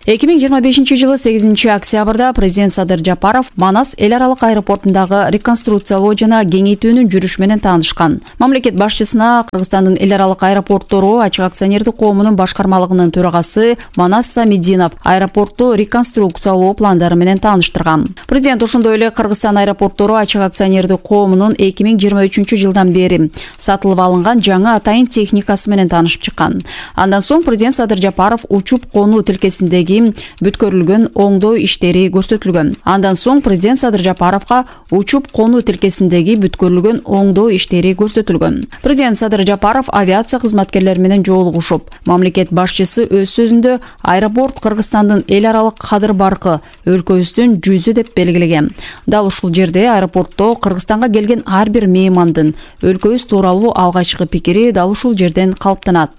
2025 жылы 8 октябрда президент Садыр Жапаров Манас эл аралык аэропортундагы реконструкциялоо жана кеңейтүүнүн жүрүшү менен таанышкан. Мамлекет башчысына Кыргызстандын эл аралык аэропорттору ачык акционердик коомунун башкармалыгынын төрагасы Манас Самидинов аэропортту реконструкциялоо пландары менен тааныштырган. Президент ошондой эле Кыргызстан аэропорттору ачык акционердик коомунун 2023 жылдан бери сатылып алынган жаңы атайын техникасы менен таанышып чыккан. Андан соң президент Садыр Жапаров учуп конуу тилкесиндеги бүткөрүлгөн оңдоо иштери көрсөтүлгөн. Андан соң президент Садыр Жапаровго учуп конуу тилкесиндеги бүткөрүлгөн оңдоо иштери көрсөтүлгөн. Президент Садыр Жапаров авиация кызматкерлери менен жолугушуп, мамлекет башчысы өз сөзүндө аэропорт Кыргызстандын эл аралык кадыр баркы, өлкөбүздүн жүзү деп белгилеген. Дал ушул жерде аэропортто Кыргызстанга келген ар бир меймандын өлкөбүз тууралуу алгачкы пикири дал ушул жерден калыптанат.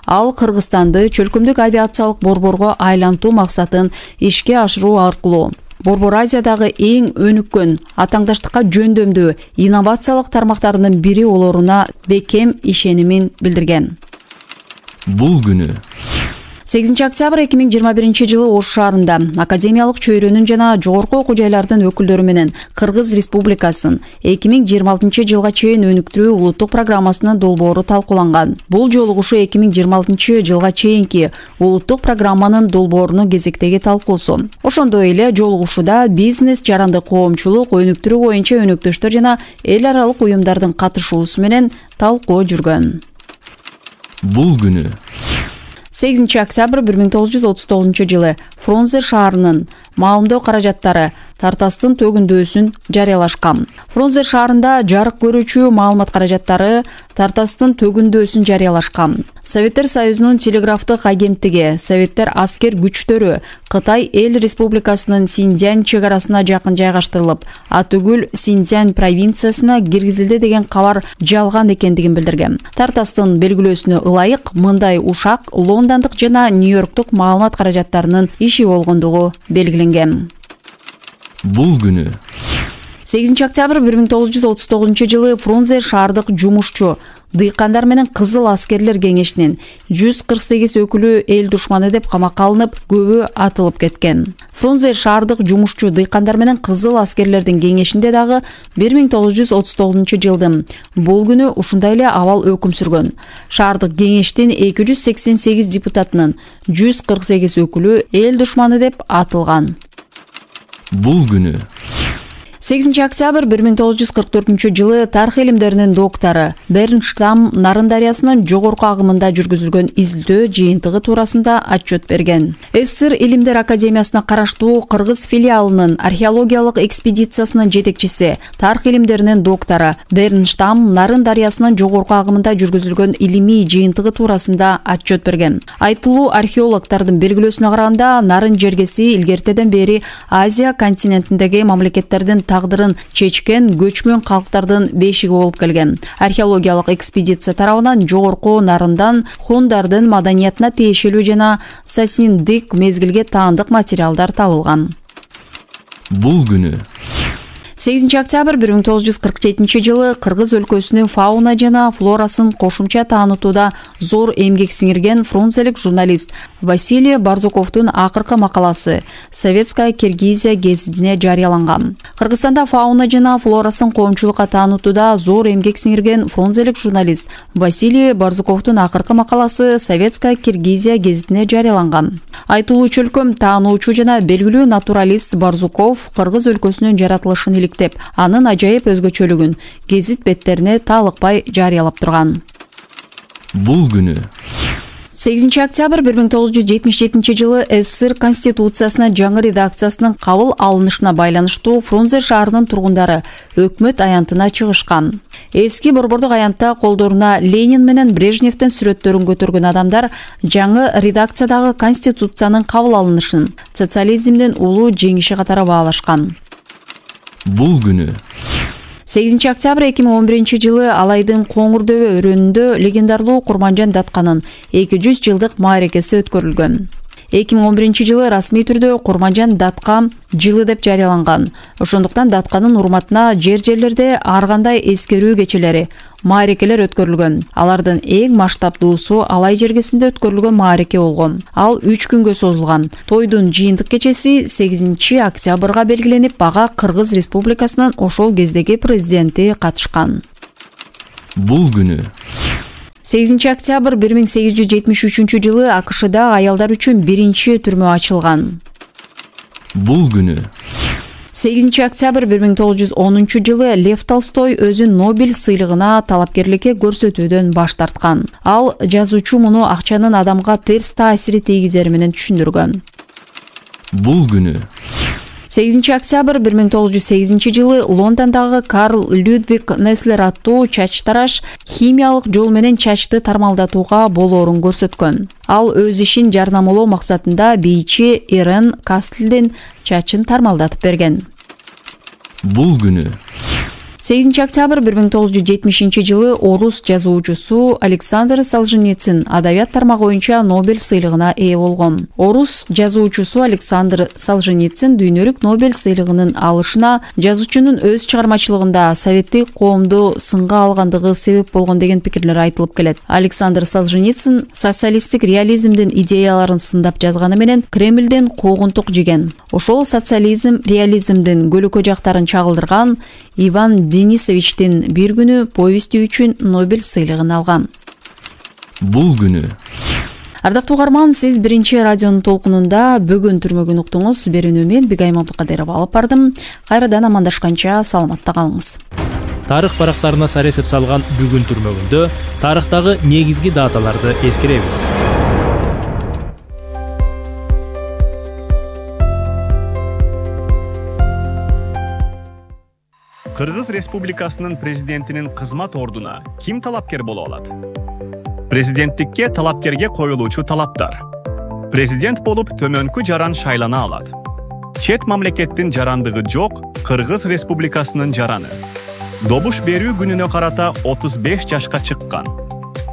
Ал Кыргызстанды чөлкөмдүк авиациялык борборго айлантуу максатын ишке ашыруу аркылуу Борбор Азиядагы эң өнүккөн, атаңдаштыкка жөндөмдүү инновациялык тармактарынын бири болоруна бекем ишенимин билдирген. Бул күнү 8 октябрь 2021 жылы Ош шаарында академиялык чөйрөнүн жана жогорку окуу жайлардын өкүлдөрү менен Кыргыз Республикасынын 2026 жылга чейин өнүктүрүү улуттук программасынын долбоору талкууланган. Бул жолугушуу 2026 жылга чейинки улуттук программанын долбоорунун кезектеги талкуусу. Ошондой эле жолугушууда бизнес, жарандык коомчулук, өнүктүрүү боюнча өнөктөштөр жана эл аралык уюмдардын катышуусу менен талкуу жүргөн. Бул күнү 8 октябрь 1939 жылы Фрунзе шаарынын маалымдоо каражаттары Тартастын төгүндөөсүн жарыялашкан. Фрунзе шаарында жарык көрүүчү маалымат каражаттары Тартастын төгүндөөсүн жарыялашкан. Советтер Союзунун телеграфтык агенттиги, Советтер аскер күчтөрү Кытай эл республикасынын Синьцзянь чегарасына жакын жайгаштырылып, атүгүл Синьцзянь провинциясына киргизилди деген кабар жалган экендигин билдирген. Тартастын белгилөөсүнө ылайык мындай ушак лондондук жана Нью-Йорктук маалымат каражаттарынын иши болгондугу белгиленген. Бул күнү 8 октябрь 1939 жылы Фрунзе шаардык жумушчу дыйкандар менен Кызыл аскерлер кеңешинин 148 өкүлү эл душманы деп камакка алынып, көбү атылып кеткен. Фрунзе шаардык жумушчу дыйкандар менен Кызыл аскерлердин кеңешинде дагы 1939 жылдын бул күнү ушундай эле абал өкүм сүргөн. Шаардык кеңештин 288 депутатынын 148 өкүлү эл душманы деп атылган. Бул күнү 8 октябрь 1944 жылы тарых илимдеринин доктору Бернштам Нарын дарыясынын жогорку агымында жүргүзүлгөн изилдөө жыйынтыгы туурасында отчет берген. СССР Илимдер академиясына караштуу Кыргыз филиалынын археологиялык экспедициясынын жетекчиси, тарых илимдеринин доктору Бернштам Нарын дарыясынын жогорку агымында жүргүзүлгөн илимий жыйынтыгы туурасында отчет берген. Айтылуу археологдордун белгилөөсүнө караганда, Нарын жергеси илгертеден бери Азия континентиндеги мамлекеттердин тагдырын чечкен көчмөн калктардын бешиги болуп келген. Археологиялык экспедиция тарабынан жогорку Нарындан хундардын маданиятына тиешелүү жана сасиндик мезгилге таандык материалдар табылган. Бул күнү 8 октябрь 1947 жылы Кыргыз өлкөсүнүн фауна жана флорасын кошумча таанытууда зор эмгек сиңирген фрунзелик журналист Василий Барзуковдун акыркы макаласы Советская Киргизия гезитине жарыяланган. Кыргызстанда фауна жана флорасын коомчулукка таанытууда зор эмгек сиңирген фрунзелик журналист Василий Барзуковдун акыркы макаласы Советская Киргизия гезитине жарыяланган. Айтылуу чөлкөм таануучу жана белгилүү натуралист Барзуков Кыргыз өлкөсүнүн жаратылышын иликтеп, анын ажайып өзгөчөлүгүн гезит беттерине таалыкпай жарыялап турган. Бул күнү 8 октябрь 1977 жылы СССР Конституциясына жаңы редакциясынын кабыл алынышына байланыштуу Фрунзе шаарынын тургундары өкмөт аянтына чыгышкан. Эски борбордук аянтта колдоруна Ленин менен Брежневдин сүрөттөрүн көтөргөн адамдар жаңы редакциядагы Конституциянын кабыл алынышын социализмдин улуу жеңиши катары баалашкан. Бул күнү 8 октябрь 2011 жылы Алайдын Коңурдөбө өрөөнүндө легендарлуу Курманжан Датканын 200 жылдык мааракеси өткөрүлгөн. 2011 жылы расмий түрдө Курманжан Датка жылы деп жарыяланган. Ошондуктан Датканын урматына жерлерде ар кандай эскерүү кечелери, мааракелер өткөрүлгөн. Алардын эң масштабдуусу Алай жергесинде өткөрүлгөн маараке болгон. Ал 3 күнгө созулган. Тойдун жыйынтык кечеси 8 октябрга белгиленип, бага Кыргыз Республикасынын ошол кездеги президенти катышкан. Бул күнү 8 октябрь 1873 жылы АКШда аялдар үчүн биринчи түрмө ачылган. Бул күнү 8 октябрь 1910 жылы Лев Толстой өзүн Нобель сыйлыгына талапкерликке көрсөтүүдөн баш тарткан. Ал жазуучу муну акчанын адамга терс таасири тийгизери менен түшүндүргөн. Бул күнү 8 октябрь 1908 жылы Лондондагы Карл Людвиг Неслер аттуу чач тараш химиялык жол менен чачты тармалдатууга болоорун көрсөткөн. Ал өз ишин жарнамалоо максатында бийчи Эрен Кастелдин чачын тармалдатып берген. Бул күнү 8 октябрь 1970 жылы орус жазуучусу Александр Солженицин адабият тармагы боюнча Нобель сыйлыгына ээ болгон. Орус жазуучусу Александр Солженицин дүйнөлүк Нобель сыйлыгынын алышына жазуучунун өз чыгармачылыгында советтик коомду сынга алгандыгы себеп болгон деген пикирлер айтылып келет. Александр Солженицин социалисттик реализмдин идеяларын сындап жазганы менен Кремлден куугунтук жеген. Ошол социализм, реализмдин көлөкө жактарын чагылдырган Иван Денисовичтин бир күнү повести үчүн Нобель сыйлыгын алган. Бул күнү Ардактуу угарман, сиз биринчи радионун толкунунда бүгүн түрмөгүн уктуңуз. Берүүнү мен Бигай Мамдыкадырова алып бардым. Кайрадан амандашканча саламатта калыңыз. Тарых барактарына сар эсеп салган бүгүн түрмөгүндө тарыхтагы негизги даталарды эскеребиз. Кыргыз Республикасынын президентинин кызмат ордуна ким талапкер боло алат? Президенттикке талапкерге коюлуучу талаптар. Президент болуп төмөнкү жаран шайлана алат. Чет мамлекеттин жарандыгы жок Кыргыз Республикасынын жараны. Добуш берүү күнүнө карата 35 жашка чыккан.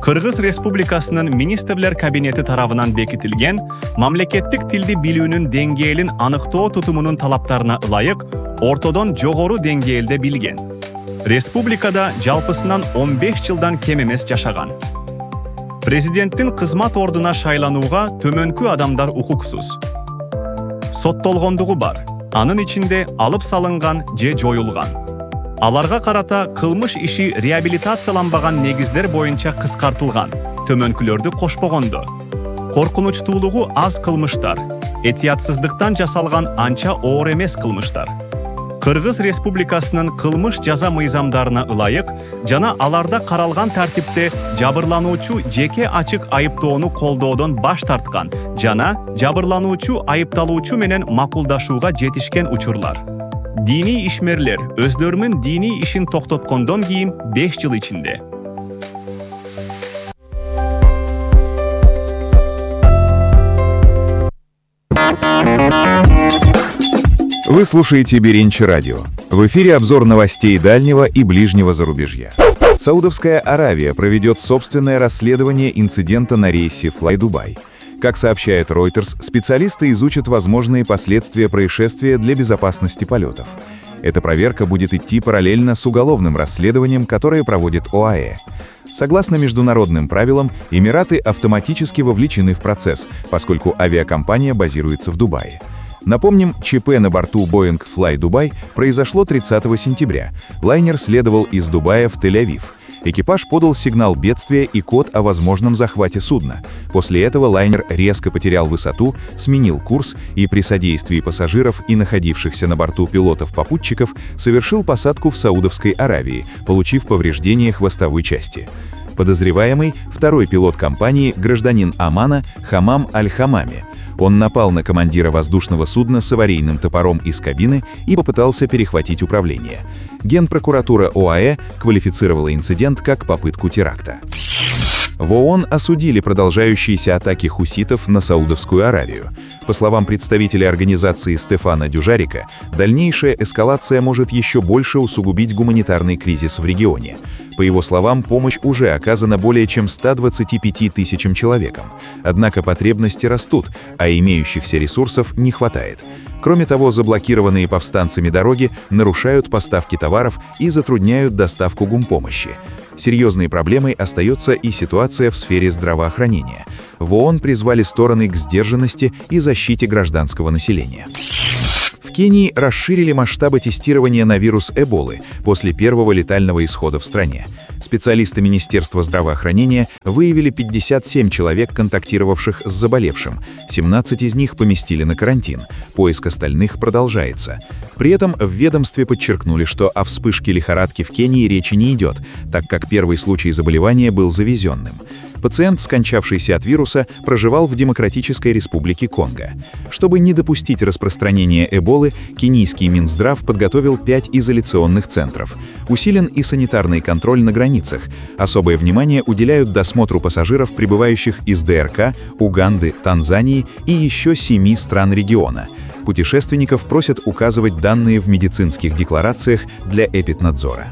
Кыргыз Республикасынын министрлер кабинети тарабынан бекитилген мамлекеттик тилди билүүнүн деңгээлин аныктоо тутумунун талаптарына ылайык ортодон жогору деңгээлде билген. Республикада жалпысынан 15 жылдан кем эмес жашаган. Президенттин кызмат ордуна шайланууга төмөнкү адамдар укуксуз. Соттолгондугу бар, анын ичинде алып салынган же жоюлган. Аларга карата кылмыш иши реабилитацияланбаган негиздер боюнча кыскартылган, төмөнкүлөрдү кошпогондо. Коркунучтуулугу аз кылмыштар, этиятсыздыктан жасалган анча оор эмес кылмыштар. Кыргыз Республикасынын кылмыш жаза мыйзамдарына ылайык жана аларда каралган тартипте жабырлануучу жеке ачык айыптоону колдоодон баш тарткан жана жабырлануучу айыпталуучу менен макулдашууга жетишкен учурлар. Дини ишмерлер өздөрүнүн дини ишин токтоткондон кийин 5 жыл ичинде. Вы слушаете Беринчи радио. В эфире обзор новостей дальнего и ближнего зарубежья. Саудовская Аравия проведет собственное расследование инцидента на рейсе Fly-Dubai. Как сообщает Reuters, специалисты изучат возможные последствия происшествия для безопасности полетов. Эта проверка будет идти параллельно с уголовным расследованием, которое проводит ОАЭ. Согласно международным правилам, Эмираты автоматически вовлечены в процесс, поскольку авиакомпания базируется в Дубае. Напомним, ЧП на борту Boeing Fly-Dubai произошло 30 сентября. Лайнер следовал из Дубая в Тель-Авив. Экипаж подал сигнал бедствия и код о возможном захвате судна. После этого лайнер резко потерял высоту, сменил курс и при содействии пассажиров и находившихся на борту пилотов-попутчиков совершил посадку в Саудовской Аравии, получив повреждения хвостовой части. Подозреваемый – второй пилот компании, гражданин Омана Хамам Аль-Хамами. Он напал на командира воздушного судна с аварийным топором из кабины и попытался перехватить управление. Генпрокуратура ОАЭ квалифицировала инцидент как попытку теракта. В ООН осудили продолжающиеся атаки хуситов на Саудовскую Аравию. По словам представителя организации Стефана Дюжарика, дальнейшая эскалация может еще больше усугубить гуманитарный кризис в регионе. По его словам, помощь уже оказана более чем 125 тысячам человекам. Однако потребности растут, а имеющихся ресурсов не хватает. Кроме того, заблокированные повстанцами дороги нарушают поставки товаров и затрудняют доставку гумпомощи. Серьезной проблемой остается и ситуация в сфере здравоохранения. В ООН призвали стороны к сдержанности и защите гражданского населения. В Кении расширили масштабы тестирования на вирус Эболы после первого летального исхода в стране. Специалисты Министерства здравоохранения выявили 57 человек, контактировавших с заболевшим. 17 из них поместили на карантин. Поиск остальных продолжается. При этом в ведомстве подчеркнули, что о вспышке лихорадки в Кении речи не идет, так как первый случай заболевания был завезенным. Пациент, скончавшийся от вируса, проживал в Демократической Республике Конго. Чтобы не допустить распространения Эболы, кенийский Минздрав подготовил 5 изоляционных центров. Усилен и санитарный контроль на границах. Особое внимание уделяют досмотру пассажиров, прибывающих из ДРК, Уганды, Танзании и еще 7 стран региона. Путешественников просят указывать данные в медицинских декларациях для эпиднадзора.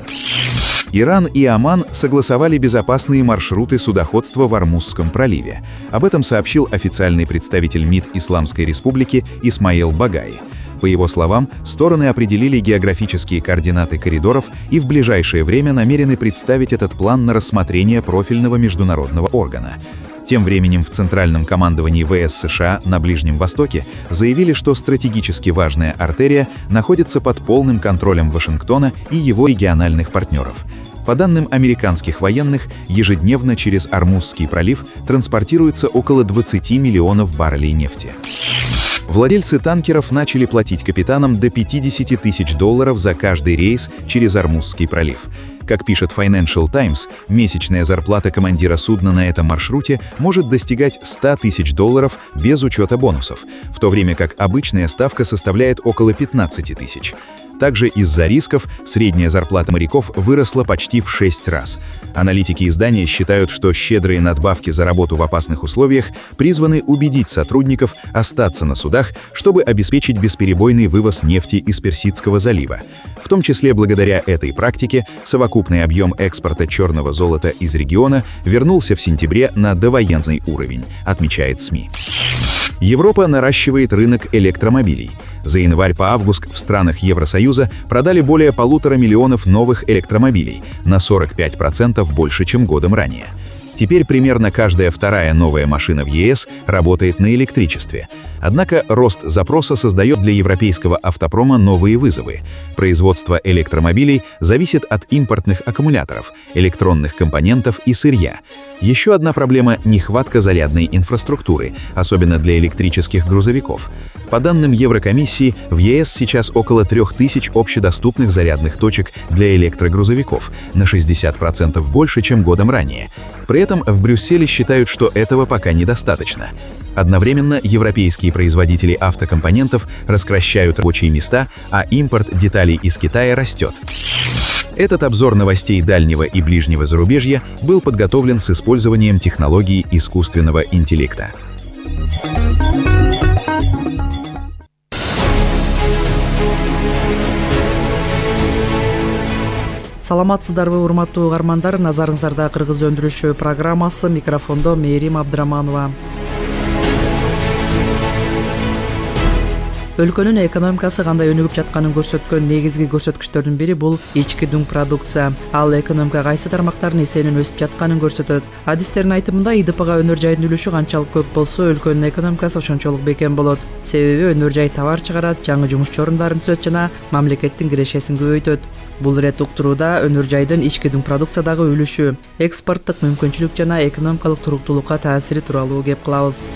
Иран и Оман согласовали безопасные маршруты судоходства в Ормузском проливе. Об этом сообщил официальный представитель МИД Исламской Республики Исмаил Багаи. По его словам, стороны определили географические координаты коридоров и в ближайшее время намерены представить этот план на рассмотрение профильного международного органа. Тем временем в Центральном командовании ВС США на Ближнем Востоке заявили, что стратегически важная артерия находится под полным контролем Вашингтона и его региональных партнеров. По данным американских военных, ежедневно через Ормузский пролив транспортируется около 20 миллионов баррелей нефти. Владельцы танкеров начали платить капитанам до $50 тысяч за каждый рейс через Ормузский пролив. Как пишет Financial Times, месячная зарплата командира судна на этом маршруте может достигать $100 тысяч без учета бонусов, в то время как обычная ставка составляет около 15 тысяч. Также из-за рисков средняя зарплата моряков выросла почти в 6 раз. Аналитики издания считают, что щедрые надбавки за работу в опасных условиях призваны убедить сотрудников остаться на судах, чтобы обеспечить бесперебойный вывоз нефти из Персидского залива. В том числе благодаря этой практике совокупный объем экспорта черного золота из региона вернулся в сентябре на довоенный уровень, отмечает СМИ. Европа наращивает рынок электромобилей. За январь по август в странах Евросоюза продали более 1,5 миллиона новых электромобилей, на 45% больше, чем годом ранее. Теперь примерно каждая вторая новая машина в ЕС работает на электричестве. Однако рост запроса создает для европейского автопрома новые вызовы. Производство электромобилей зависит от импортных аккумуляторов, электронных компонентов и сырья. Еще одна проблема – нехватка зарядной инфраструктуры, особенно для электрических грузовиков. По данным Еврокомиссии, в ЕС сейчас около 3000 общедоступных зарядных точек для электрогрузовиков, на 60% больше, чем годом ранее. При этом в Брюсселе считают, что этого пока недостаточно. Одновременно европейские производители автокомпонентов раскращают рабочие места, а импорт деталей из Китая растет. Этот обзор новостей дальнего и ближнего зарубежья был подготовлен с использованием технологий искусственного интеллекта. Саламатсыздарбы, урматтуу угармандар, назарыңыздарда Кыргыз өндүрүшү программасы, микрофондо Мээрим Абдыраманова. Өлкөнүн экономикасы кандай өнүгүп жатканын көрсөткөн негизги көрсөткүчтөрдүн бири бул ички дуң продукция. Ал экономика кайсы тармактардын эсебинен өсүп жатканын көрсөтөт. Адистердин айтымында ИДПга өнөр жайдын үлүшү канчалык көп болсо, өлкөнүн экономикасы ошончолук бекем болот. Себеби өнөр жай товар чыгарат, жаңы жумуш орундарын түзөт жана мамлекеттин кирешесин көбөйтөт. Бул ирет уктурууда өнөр жайдын ички дуң продукциядагы үлүшү, экспорттук мүмкүнчүлүк жана экономикалык туруктуулукка таасири тууралуу кеп кылабыз.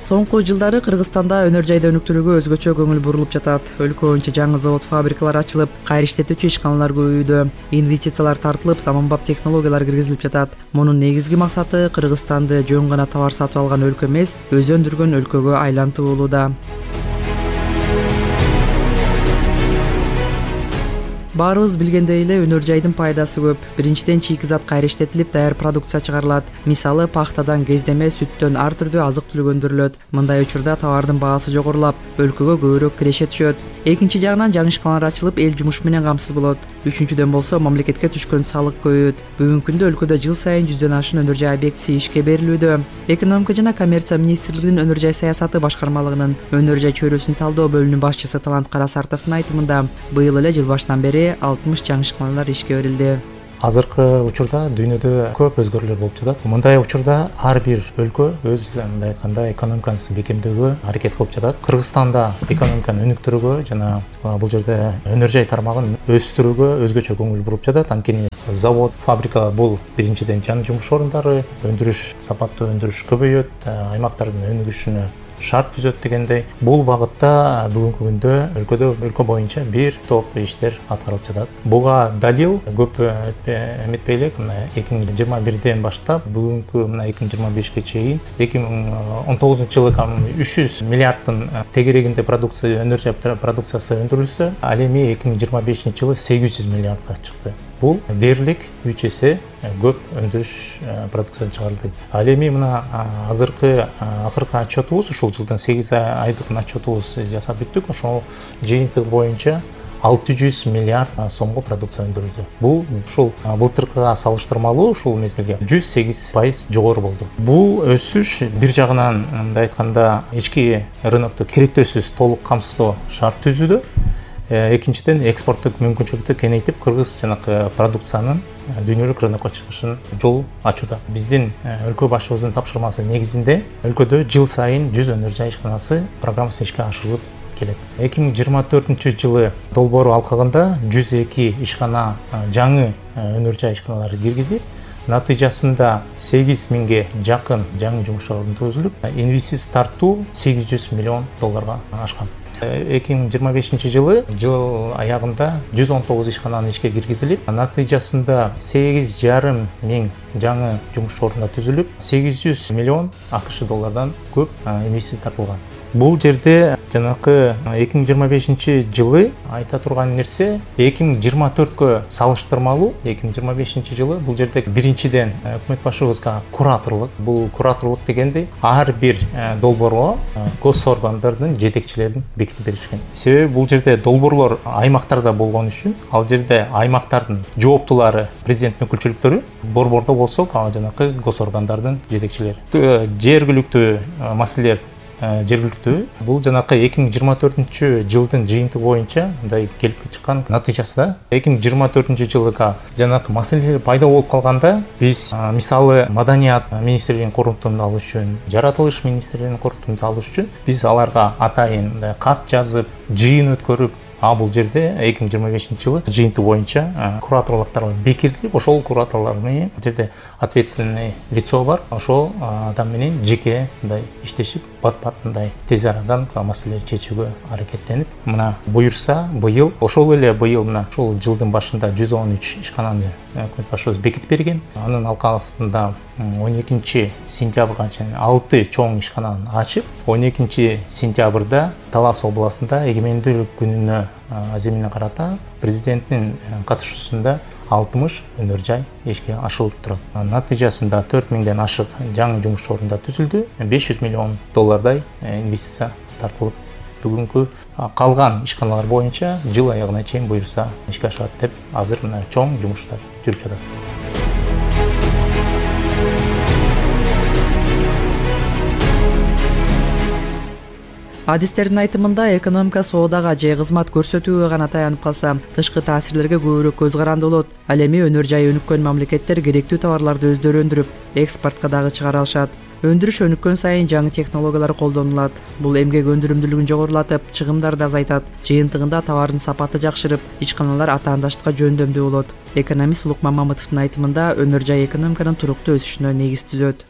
Соңку жылдары Кыргызстанда өнөр жайда өнүктүрүүгө өзгөчө көңүл бурулуп жатат. Өлкө боюнча жаңы завод, фабрикалар ачылып, кайра иштетүүчү ишканалар көбөйүүдө, инвестициялар тартылып, заманбап технологиялар киргизилип жатат. Мунун негизги максаты Кыргызстанды жөн гана товар сатып алган өлкө эмес, өзү өндүргөн өлкөгө айлантуу болууда. Баарыбыз билгендей эле өнөр жайдын пайдасы көп. Биринчиден чийки зат кайра иштетилип, даяр продукция чыгарылат. Мисалы, пахтадан, кездеме, сүттөн ар түрдүү азык-түлүк өндүрүлөт. Мындай учурда товардын баасы жогорулап, өлкөгө көбүрөөк киреше түшөт. Экинчи жагынан жаңы ишканалар ачылып, эл жумуш менен камсыз болот. Үчүнчүдөн болсо мамлекетке түшкөн салык көбөйөт. Бүгүнкү күндө өлкөдө жыл сайын 100дөн ашык өнөр жай объектиси ишке берилүүдө. Экономика жана коммерция министрлигинин өнөр жай саясаты башкармалыгынын өнөр жай чөйрөсүн талдоо бөлүмүнүн башчысы Талант Карасартовдун айтымында, быйыл эле жыл башынан бери 60 жаңы ишканалар ишке берилди. Азыркы учурда дүйнөдө көп өзгөрүүлөр болуп жатат. Мындай учурда ар бир өлкө өз мындай айтканда экономикасын бекемдөөгө аракет кылып жатат. Кыргызстанда экономиканы өнүктүрүүгө жана бул жерде өнөр жай тармагын өстүрүүгө өзгөчө көңүл буруп жатат. Анткени завод, фабрикалар бул биринчиден жаңы жумуш орундары, өндүрүш, сапаттуу өндүрүш көбөйөт, аймактардын өнүгүшүнө шарт түзөт дегендей. Бул багытта бүгүнкү күндө өлкө боюнча бир топ иштер аткарылып жатат. Буга далил көп эметпей элек, 2021ден баштап бүгүнкү 2025ге чейин 2019-жылы 300 миллиарддын тегерегинде продукция, өнөр жай продукциясы өндүрүлсө, ал эми 2025-жылы 800 миллиардга чыкты. Бул дээрлик 3 эсе көп өндүрүш продукция чыгарылды. Ал эми мына акыркы отчетубуз, ушул жылдын 8 айдык отчетубуз жасап бүттүк. Ошол жыйынтык боюнча 600 миллиард сомго продукция өндүрүлдү. Бул ушул былтыркыга салыштырмалуу ушул мезгилге 108% жогору болду. Бул өсүш бир жагынан мындай айтканда ички рынокту керектөөсүз толук камсыздоо шарт түзүүдө. Экинчиден экспорттук мүмкүнчүлүктү кеңейтип, кыргыз жанакы продукциянын дүйнөлүк рынокко чыгышын жол ачууда. Биздин өлкө башчыбыздын тапшырмасы негизинде өлкөдө жыл сайын 100 өнөр жай ишканасы программасы ишке ашырылып келет. 2024-жылы долбоор алкагында 102 ишкана жаңы өнөр жай ишканалары киргизип, натыйжасында 8000ге жакын жаңы жумуш орун түзүлүп, инвестиция тартуу $800 миллион ашкан. 2025-жылы жыл аягында 119 ишкананы ишке киргизилип, натыйжасында 8,5 миң жаңы жумуш орундар түзүлүп, $800 миллион ақш доллардан көп инвестиция тартылган. Бул жерде жанакы 2025-жылы айта турган нерсе 2024кө салыштырмалуу 2025-жылы бул жерде биринчиден өкмөт башчыбызга кураторлук, бул кураторлук дегенде ар бир долбоорго госоргандардын жетекчилерин бекитип беришкен. Себеби бул жерде долбоорлор аймактарда болгон үчүн, ал жерде аймактардын жооптулары, президенттин өкүлчүлүктөрү, борбордо болсо жанакы госоргандардын жетекчилери. Жергиликтүү маселелер жергиликтүү. Бул жанакы 2024-жылдын жыйынтыгы боюнча мындай келип чыккан натыйжасында 2024-жылга жанакы маселелер пайда болуп калганда биз мисалы маданият министрлигинин корутунду алыш үчүн, жаратылыш министрлигинин корутунду алыш үчүн биз аларга атайын кат жазып, жыйын өткөрүп, бул жерде 2025-жылы жыйынтык боюнча кураторлуктар бекитилип, ошол кураторлор менен жерде ответственный лицо бар, ошол адам менен жеке мындай иштешип, бат-бат мындай тез арадан маселени чечүүгө аракеттенип, мына буюрса быйыл, ошол эле быйыл мына ушул жылдын башында 113 ишкананы өкмөт башчыбыз бекитип берген. Анын алкагында 12-сентябрга чейин 6 чоң ишкананы ачып, 12-сентябрда Талас областында эгемендүүлүк күнүнө аземине карата президенттин катышуусунда 60 өнөр жай ишке ашырылып турат. Натыйжасында 4000ден ашык жаңы жумуш орундар түзүлдү, $500 миллион инвестиция тартылып, бүгүнкү калган ишканалар боюнча жыл аягына чейин буюрса ишке ашат деп азыр мына чоң жумуштар жүрүп жатат. Адистердин айтымында экономика соодага же кызмат көрсөтүүгө гана таянып калса, тышкы таасирлерге көбүрөөк көз каранды болот. Ал эми өнөр жайы өнүккөн мамлекеттер керектүү товарларды өздөрү өндүрүп, экспортко дагы чыгара алышат. Өндүрүш өнүккөн сайын жаңы технологиялар колдонулат. Бул эмгек өндүрүмдүүлүгүн жогорулатып, чыгымдарды азайтат. Жыйынтыгында товардын сапаты жакшырып, ишканалар атаандаштыкка жөндөмдүү болот. Экономист Улукман Мамытовдун айтымында өнөр жай экономиканын туруктуу өсүшүнө негиз түзөт.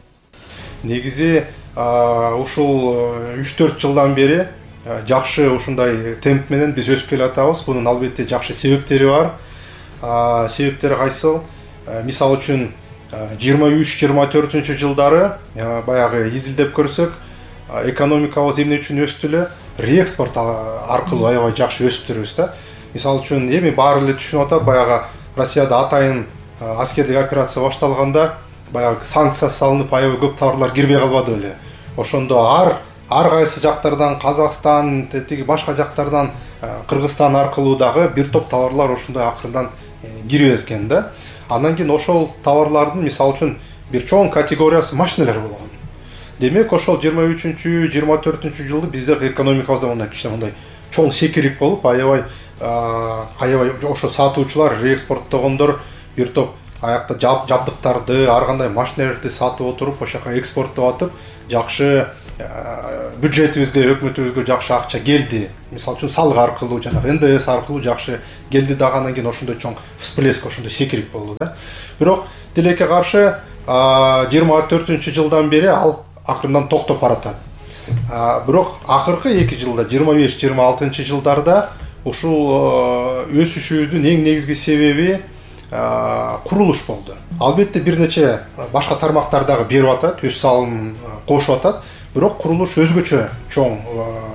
Негизи ушул 3-4 жылдан бери жакшы ушундай темп менен биз өсүп келатабыз. Бунун албетте жакшы себептери бар. Себептери кайсыл? Мисалы үчүн 23-24 жылдары баягы изилдеп көрсөк, экономикабыз эмне үчүн өстү эле? Реэкспорт аркылуу аябай жакшы өсүп турбуз да. Мисалы үчүн эми баары эле түшүнүп атат, баягы Россияда атайын аскердик операция башталганда баягы санкция салынып аябай көп товарлар кирбей калбады беле. Ошондо ар кайсы жактардан, Казакстан, тиги башка жактардан, Кыргызстан аркылуу дагы бир топ товарлар ошондой акырындан кирип экен да. Андан кийин ошол товарлардын мисалы үчүн бир чоң категориясы машиналар болгон. Демек ошол 23-24 жылы бизде экономикабызда мындай кичине мындай чоң секирик болуп, аябай ошо сатуучулар, реэкспорттогондор бир топ аякта жабдыктарды, ар кандай машиналарды сатып отуруп, ошол жака экспорттоп атып, жакшы бюджетибизге, өкмөтүбүзгө жакшы акча келди. Мисалы үчүн салык аркылуу, жана НДС аркылуу жакшы келди дагы, андан кийин ошондой чоң всплеск, ошондой секирик болду да. Бирок тилекке каршы 24 жылдан бери ал акырындан токтоп баратат. Бирок акыркы 2 жылда, 25-26 жылдарда ушул өсүшүбүздүн эң негизги себеби курулуш болду. Албетте бир нече башка тармактар дагы берип атат, өз салымын кошуп атат. Бирок курулуш өзгөчө чоң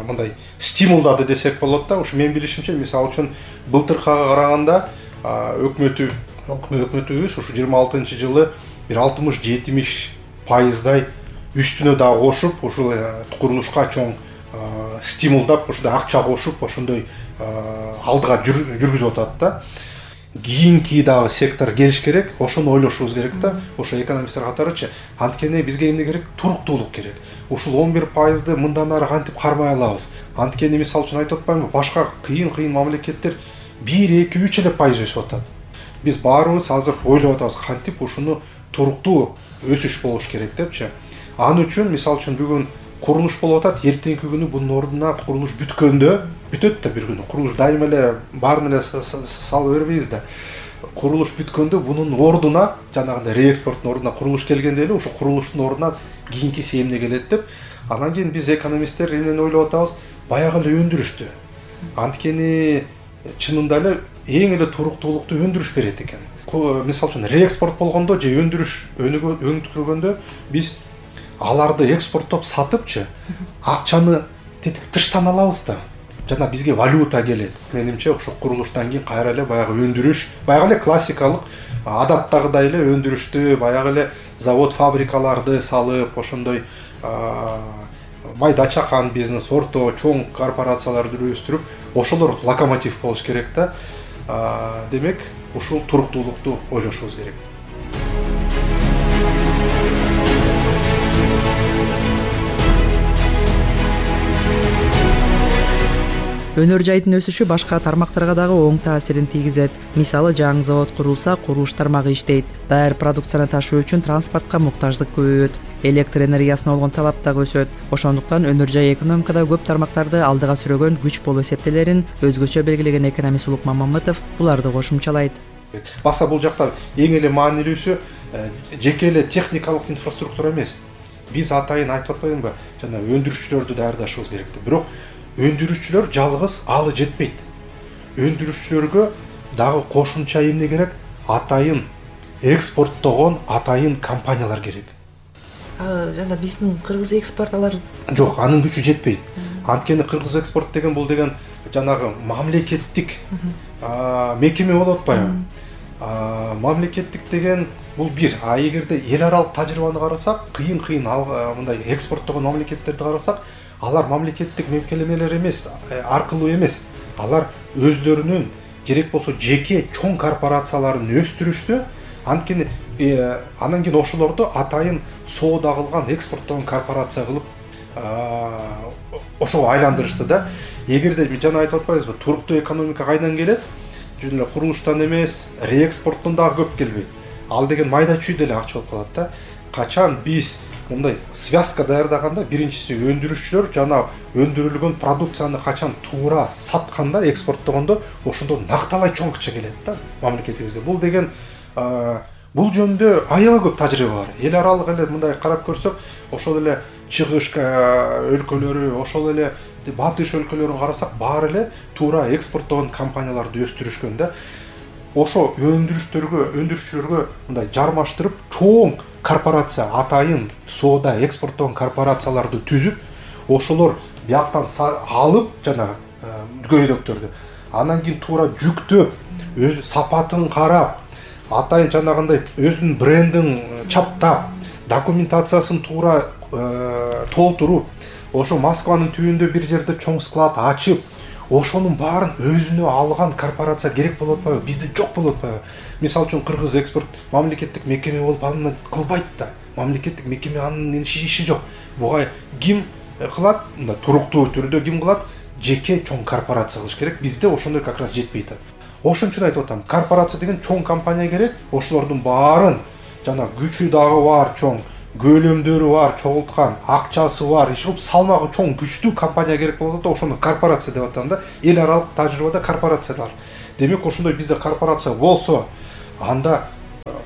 мындай стимулдады десек болот да. Ушу менин билишимче, мисалы үчүн былтыркыга караганда өкмөтүбүз ушу 26 жылы бир 60-70% үстүнө дагы кошуп, ушул курулушка чоң стимулдап, ушундай акча кошуп, ошондой алдыга жүргүзүп атат да. Кийинки дагы сектор келиш керек, ошону ойлошубуз керек да. Ошо экономисттер катарычы, анткени бизге эмне керек? Туруктуулук керек. Ушул 11%ды мындан ары кантип кармай алабыз? Анткени мисалы үчүн айтып атпаймынбы, башка кыйын мамлекеттер 1-2-3 эле пайыз өсүп атат. Биз баарыбыз азыр ойлоп атабыз, кантип ушуну туруктуу өсүш болуш керек депчи. Аны үчүн мисалы үчүн бүгүн курулуш болуп атат, эртеңки күнү бунун ордуна курулуш бүткөндө, бүтөт да бир күнү. Курулуш дайыма эле баарын эле салып бербейбиз да. Курулуш бүткөндө бунун ордуна, жанагындай реэкспорттун ордуна курулуш келгенде эле ошо курулуштун ордуна кийинкиси эмне келет деп, анан кийин биз экономисттер эмнени ойлоп атабыз? Баягы эле өндүрүштү. Анткени чынында эле эң эле туруктуулукту өндүрүш берет экен. Мисалы үчүн реэкспорт болгондо же өндүрүш өнүктүргөндө биз аларды экспорттоп сатыпчы, акчаны тыштан алабыз да. Жана бизге валюта келет. Менимче ошо курулуштан кийин кайра эле баягы өндүрүш, баягы эле классикалык адаттагыдай эле өндүрүштү, баягы эле завод, фабрикаларды салып, ошондой майда чакан бизнес, орто, чоң корпорацияларды өстүрүп, ошолор локомотив болуш керек да. Демек, ушул туруктуулукту ойлошубуз керек. Өнөр жайдын өсүшү башка тармактарга дагы оң таасирин тийгизет. Мисалы, жаңы завод курулса, курулуш тармагы иштейт. Даяр продукцияны ташуу үчүн транспортко муктаждык көбөйөт. Электр энергиясына болгон талап дагы өсөт. Ошондуктан өнөр жай экономикада көп тармактарды алдыга сүрөгөн күч болуп эсептелерин өзгөчө белгилеген экономист Улукман Мамытов буларды кошумчалайт. Баса бул жакта эң эле маанилүүсү жеке эле техникалык инфраструктура эмес. Биз атайын айтып атпаймынбы, жана өндүрүшчүлөрдү даярдашыбыз керек деп. Бирок өндүрүшчүлөр жалгыз алы жетпейт. Өндүрүшчүлөргө дагы кошумча эмне керек? Атайын экспорттогон атайын компаниялар керек. Жана биздин кыргыз экспортталар жок, анын күчү жетпейт. Анткени кыргыз экспорт деген бул деген жанагы мамлекеттик мекеме болуп атпайбы? Мамлекеттик деген бул бир. Эгерде эл аралык тажрыйбаны карасак, кыйын мындай экспорттогон мамлекеттерди карасак, алар мамлекеттик мекемелер эмес, аркылуу эмес. Алар өзлөрүнүн керек болсо жеке чоң корпорацияларын өстүрүштү. Анткени анан кийин ошолорду атайын соода кылган, экспорттогон корпорация кылып ошого айландырышты да. Эгерде жана айтып атпайбызбы, туруктуу экономика кайдан келет? Жөн эле курулуштан эмес, реэкспорттон дагы көп келбейт. Ал деген майда чүй деле акча болуп калат да. Качан биз мындай связка даярдаганда, биринчиси өндүрүшчүлөр жана өндүрүлгөн продукцияны качан туура сатканда, экспорттогондо ошондо накталай чоң акча келет да мамлекетибизге. Бул деген бул жөнүндө аябай көп тажрыйба бар. Эл аралык эле мындай карап көрсөк, ошол эле чыгыш өлкөлөрү, ошол эле батыш өлкөлөрүн карасак, баары эле туура экспорттогон компанияларды өстүрүшкөн да. Ошо өндүрүшчүлөргө мындай жармаштырып, чоң корпорация, атайын соода экспорттогон корпорацияларды түзүп, ошолор бияктан алып жана көйдөктөрдү, анан кийин туура жүктөп, өз сапатын карап, атайын жанагындай өзүнүн брендин чаптап, документациясын туура толтуруп, ошо Москванын түбүндө бир жерде чоң склад ачып, ошонун баарын өзүнө алган корпорация керек болуп атпайбы? Бизде жок болуп атпайбы? Мисалы үчүн Кыргыз экспорт мамлекеттик мекеме болуп аны кылбайт да. Мамлекеттик мекеме анын иши жок. Буга ким кылат? Мындай туруктуу түрдө ким кылат? Жеке чоң корпорация кылыш керек. Бизде ошондой как раз жетпейт. Ошон үчүн айтып атам, корпорация деген чоң компания керек. Ошолордун баарын жана күчү дагы бар, чоң көлөмдөрү бар, чогулткан, акчасы бар, иш кылып салмагы чоң, күчтүү компания керек болот да, ошону корпорация деп атам да. Эл аралык тажрыйбада корпорациялар. Демек ошондой бизде корпорация болсо, анда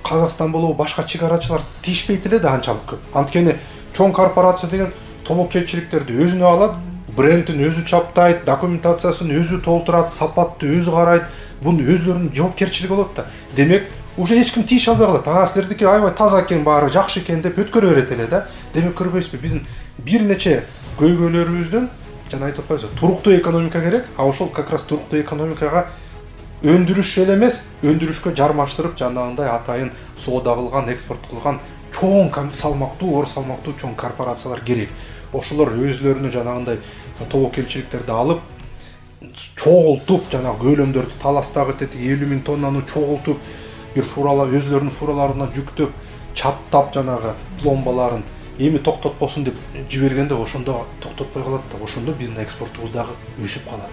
Казакстан болобу башка чыгарачылар тийишпейт эле да анчалык көп. Анткени чоң корпорация деген тобокелчиликтерди өзүнө алат, брендин өзү чаптайт, документациясын өзү толтурат, сапатты өзү карайт, бунун өзлөрүнүн жоопкерчилиги болот да. Демек уже эч ким тийише албай калат. Силердики аябай таза экен, баары жакшы экен деп өткөрө берет эле да. Демек көрбөйсүзбү, биздин бир нече көйгөйлөрүбүздөн жана айтып атпайбызбы, туруктуу экономика керек. Ошол как раз туруктуу экономикага өндүрүш эле эмес, өндүрүшкө жармаштырып, жанагындай атайын соода кылган, экспорт кылган чоң салмактуу, оор салмактуу чоң корпорациялар керек. Ошолор өзлөрүнө жанагындай тобокелчиликтерди алып, чогултуп, жана көлөмдөрдү таластагы 50.000 тоннаны чогултуп, бир фурала өзлөрүнүн фураларына жүктөп, чаптап жанагы пломбаларын эми токтотпосун деп жибергенде ошондо токтотпой калат да. Ошондо биздин экспортубуз дагы өсүп калат.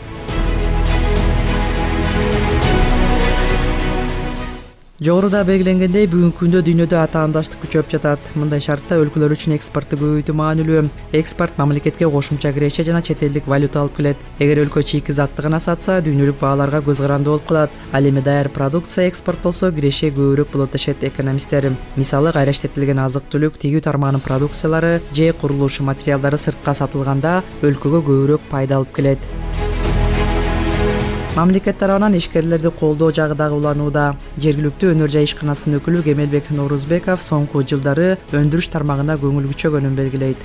Жогоруда белгиленгендей, бүгүнкү күндө дүйнөдө атаандаштык күчөп жатат. Мындай шартта өлкөлөр үчүн экспортты көбөйтүү маанилүү. Экспорт мамлекетке кошумча киреше жана чет элдик валюта алып келет. Эгер өлкө чийки затты гана сатса, дүйнөлүк бааларга көз каранды болуп калат. Ал эми даяр продукция экспорттолсо, киреше көбүрөөк болот дешет экономисттер. Мисалы, кайра иштетилген азык-түлүк, тегүү тармагынын продукциялары же курулуш материалдары сыртка сатылганда өлкөгө көбүрөөк пайда алып келет. Мамлекет тарабынан ишкерлерди колдоо жагы дагы уланууда. Жергиликтүү өнөр жай ишканасынын өкүлү Кемелбек Норузбеков соңку жылдары өндүрүш тармагына көңүл күчөгөнүн белгилейт.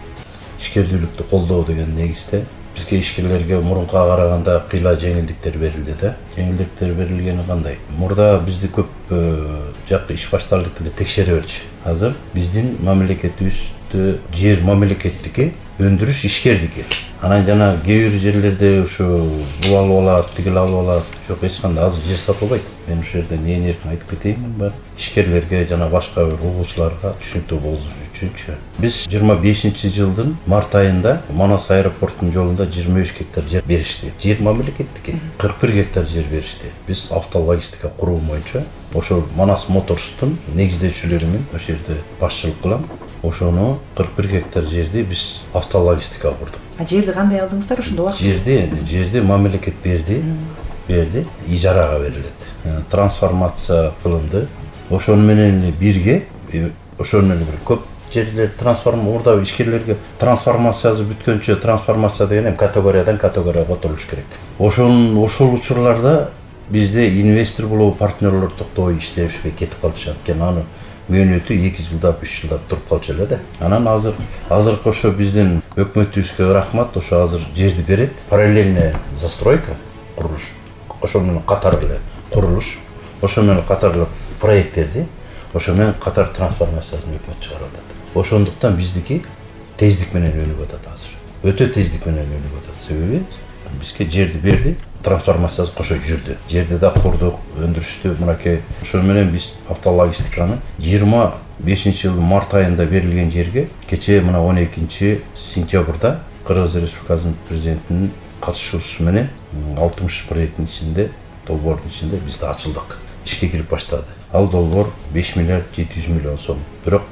Ишкерлүүлүктү колдоо деген негизде бизге ишкерлерге мурункуга караганда кыйла жеңилдиктер берилди да. Жеңилдиктер берилгени кандай? Мурда бизди көп жакы иш баштардык эле текшере берчү. Азыр биздин мамлекетибизде жер мамлекеттики, өндүрүш ишкердики. Анан жана кээ бир жерлерде ушу бул алып алат, тигил алып алат. Жок, эч кандай азыр жер сатылбайт. Мен ушул жерден ээн эркин айтып кетейин бар. Ишкерлерге жана башка бир угуучуларга түшүнүктүү болуш үчүнчү. Биз 25-жылдын март айында Манас аэропортунун жолунда 23 гектар жер беришти. Жер мамлекеттики, 41 гектар жер беришти. Биз автологистика куруу боюнча ошол Манас Моторстун негиздөөчүлөрү менен ошол жерде башчылык кылам. Ошону 41 гектар жерди биз автологистика курдук. Жерди кандай алдыңыздар ошондо убакыт? Жерди мамлекет берди, ижарага берилет. Трансформация кылынды. Ошону менен бирге, ошону менен көп жерлер мурда ишкерлерге трансформациясы бүткөнчө, трансформация деген категориядан категорияга отурулуш керек. Ошол учурларда бизде инвестор болобу партнерлор токтобой иштешпей кетип калчу. Анткени аны мөөнөтү 2 жылдап, 3 жылдап туруп калчу эле да. Анан азыркы ошо биздин өкмөтүбүзгө рахмат, ошо азыр жерди берет. Параллельная застройка, курулуш. Ошо менен катар эле курулуш, ошо менен катар эле проекттерди, ошо менен катар трансформациясын өкмөт чыгарып атат. Ошондуктан биздики тездик менен өнүп атат азыр. Өтө тездик менен өнүп атат. Себеби бизге жерди берди, трансформациясы кошо жүрдү. Жерди да курдук, өндүрүштү, мынакей. Ошо менен биз автологистиканы 25-жылдын март айында берилген жерге кечээ мына 12-сентябрда Кыргыз Республикасынын президентинин катышуусу менен 60 проекттин ичинде, долбоордун ичинде биз да ачылдык. Ишке кирип баштады. Ал долбоор 5 миллиард 700 миллион сом. Бирок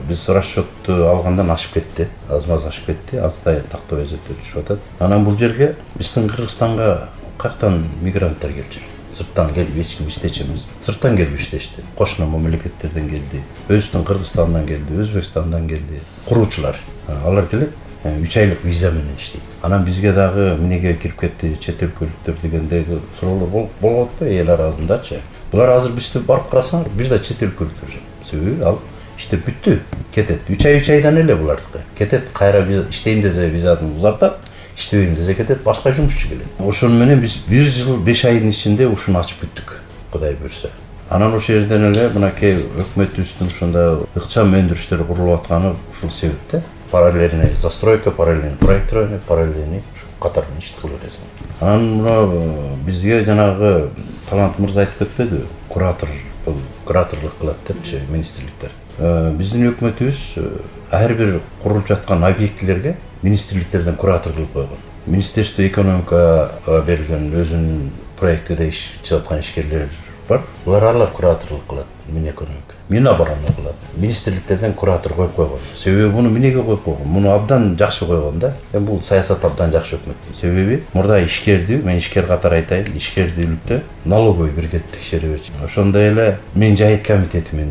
биз расчетту алгандан ашып кетти. Аз-маз ашып кетти. Аздай тактап эсептеп түшүп атат. Анан бул жерге биздин Кыргызстанга каяктан мигранттар келчү. сырттан келип эч ким иштечү эмес. Сырттан келип иштешти. Кошуна мамлекеттерден келди. Өзүбүздүн Кыргызстандан келди, Өзбекстандан келди. Куруучулар. Алар келет 3 айлык виза менен иштейт. Анан бизге дагы эмнеге кирип кетти чет өлкөлүктөр дегендеги суроолор болуп атпайбы эл арасындачы. Булар азыр бизди барып карасаңар, бир да чет өлкөлүктөр жок. Себеби ал иштеп бүттү, кетет. 3 айдан эле булардыкы. Кетет, кайра иштейм десе визасын узартат, иштебейм десе кетет, башка жумушчу келет. Ошону менен биз 1 жыл 5 айдын ичинде ушуну ачып бүттүк, Кудай буйрса. Анан ошол жерден эле мынакей өкмөтүбүздүн ушунда ыкчам өндүрүштөр курулуп атканы ушул себепте. Параллельный застройка, параллельный проектирование, параллельный катарын ишти кылып бересиң. Анан мына бизге жанагы Талант мырза айтып кетпедиби? Кураторлук кылат депчи министрликтер. Биздин өкмөтүбүз ар бир курулуп жаткан объектилерге министрликтерден куратор кылып койгон. Министерство экономикага берилген өзүнүн проектиде ишчип жаткан ишкерлер бар. Алар кураторлук кылат, Минэкономика. Минобороны кылат. Министрликтерден куратор коюп койгон. Себеби муну эмнеге коюп койгон? Муну абдан жакшы койгон да. Бул саясат абдан жакшы өкмөт. Себеби мурда ишкерди, мен ишкер катары айтайын, ишкердүүлүктө налоговый бирге текшере берчү. Ошондой эле мен жайыт комитетимен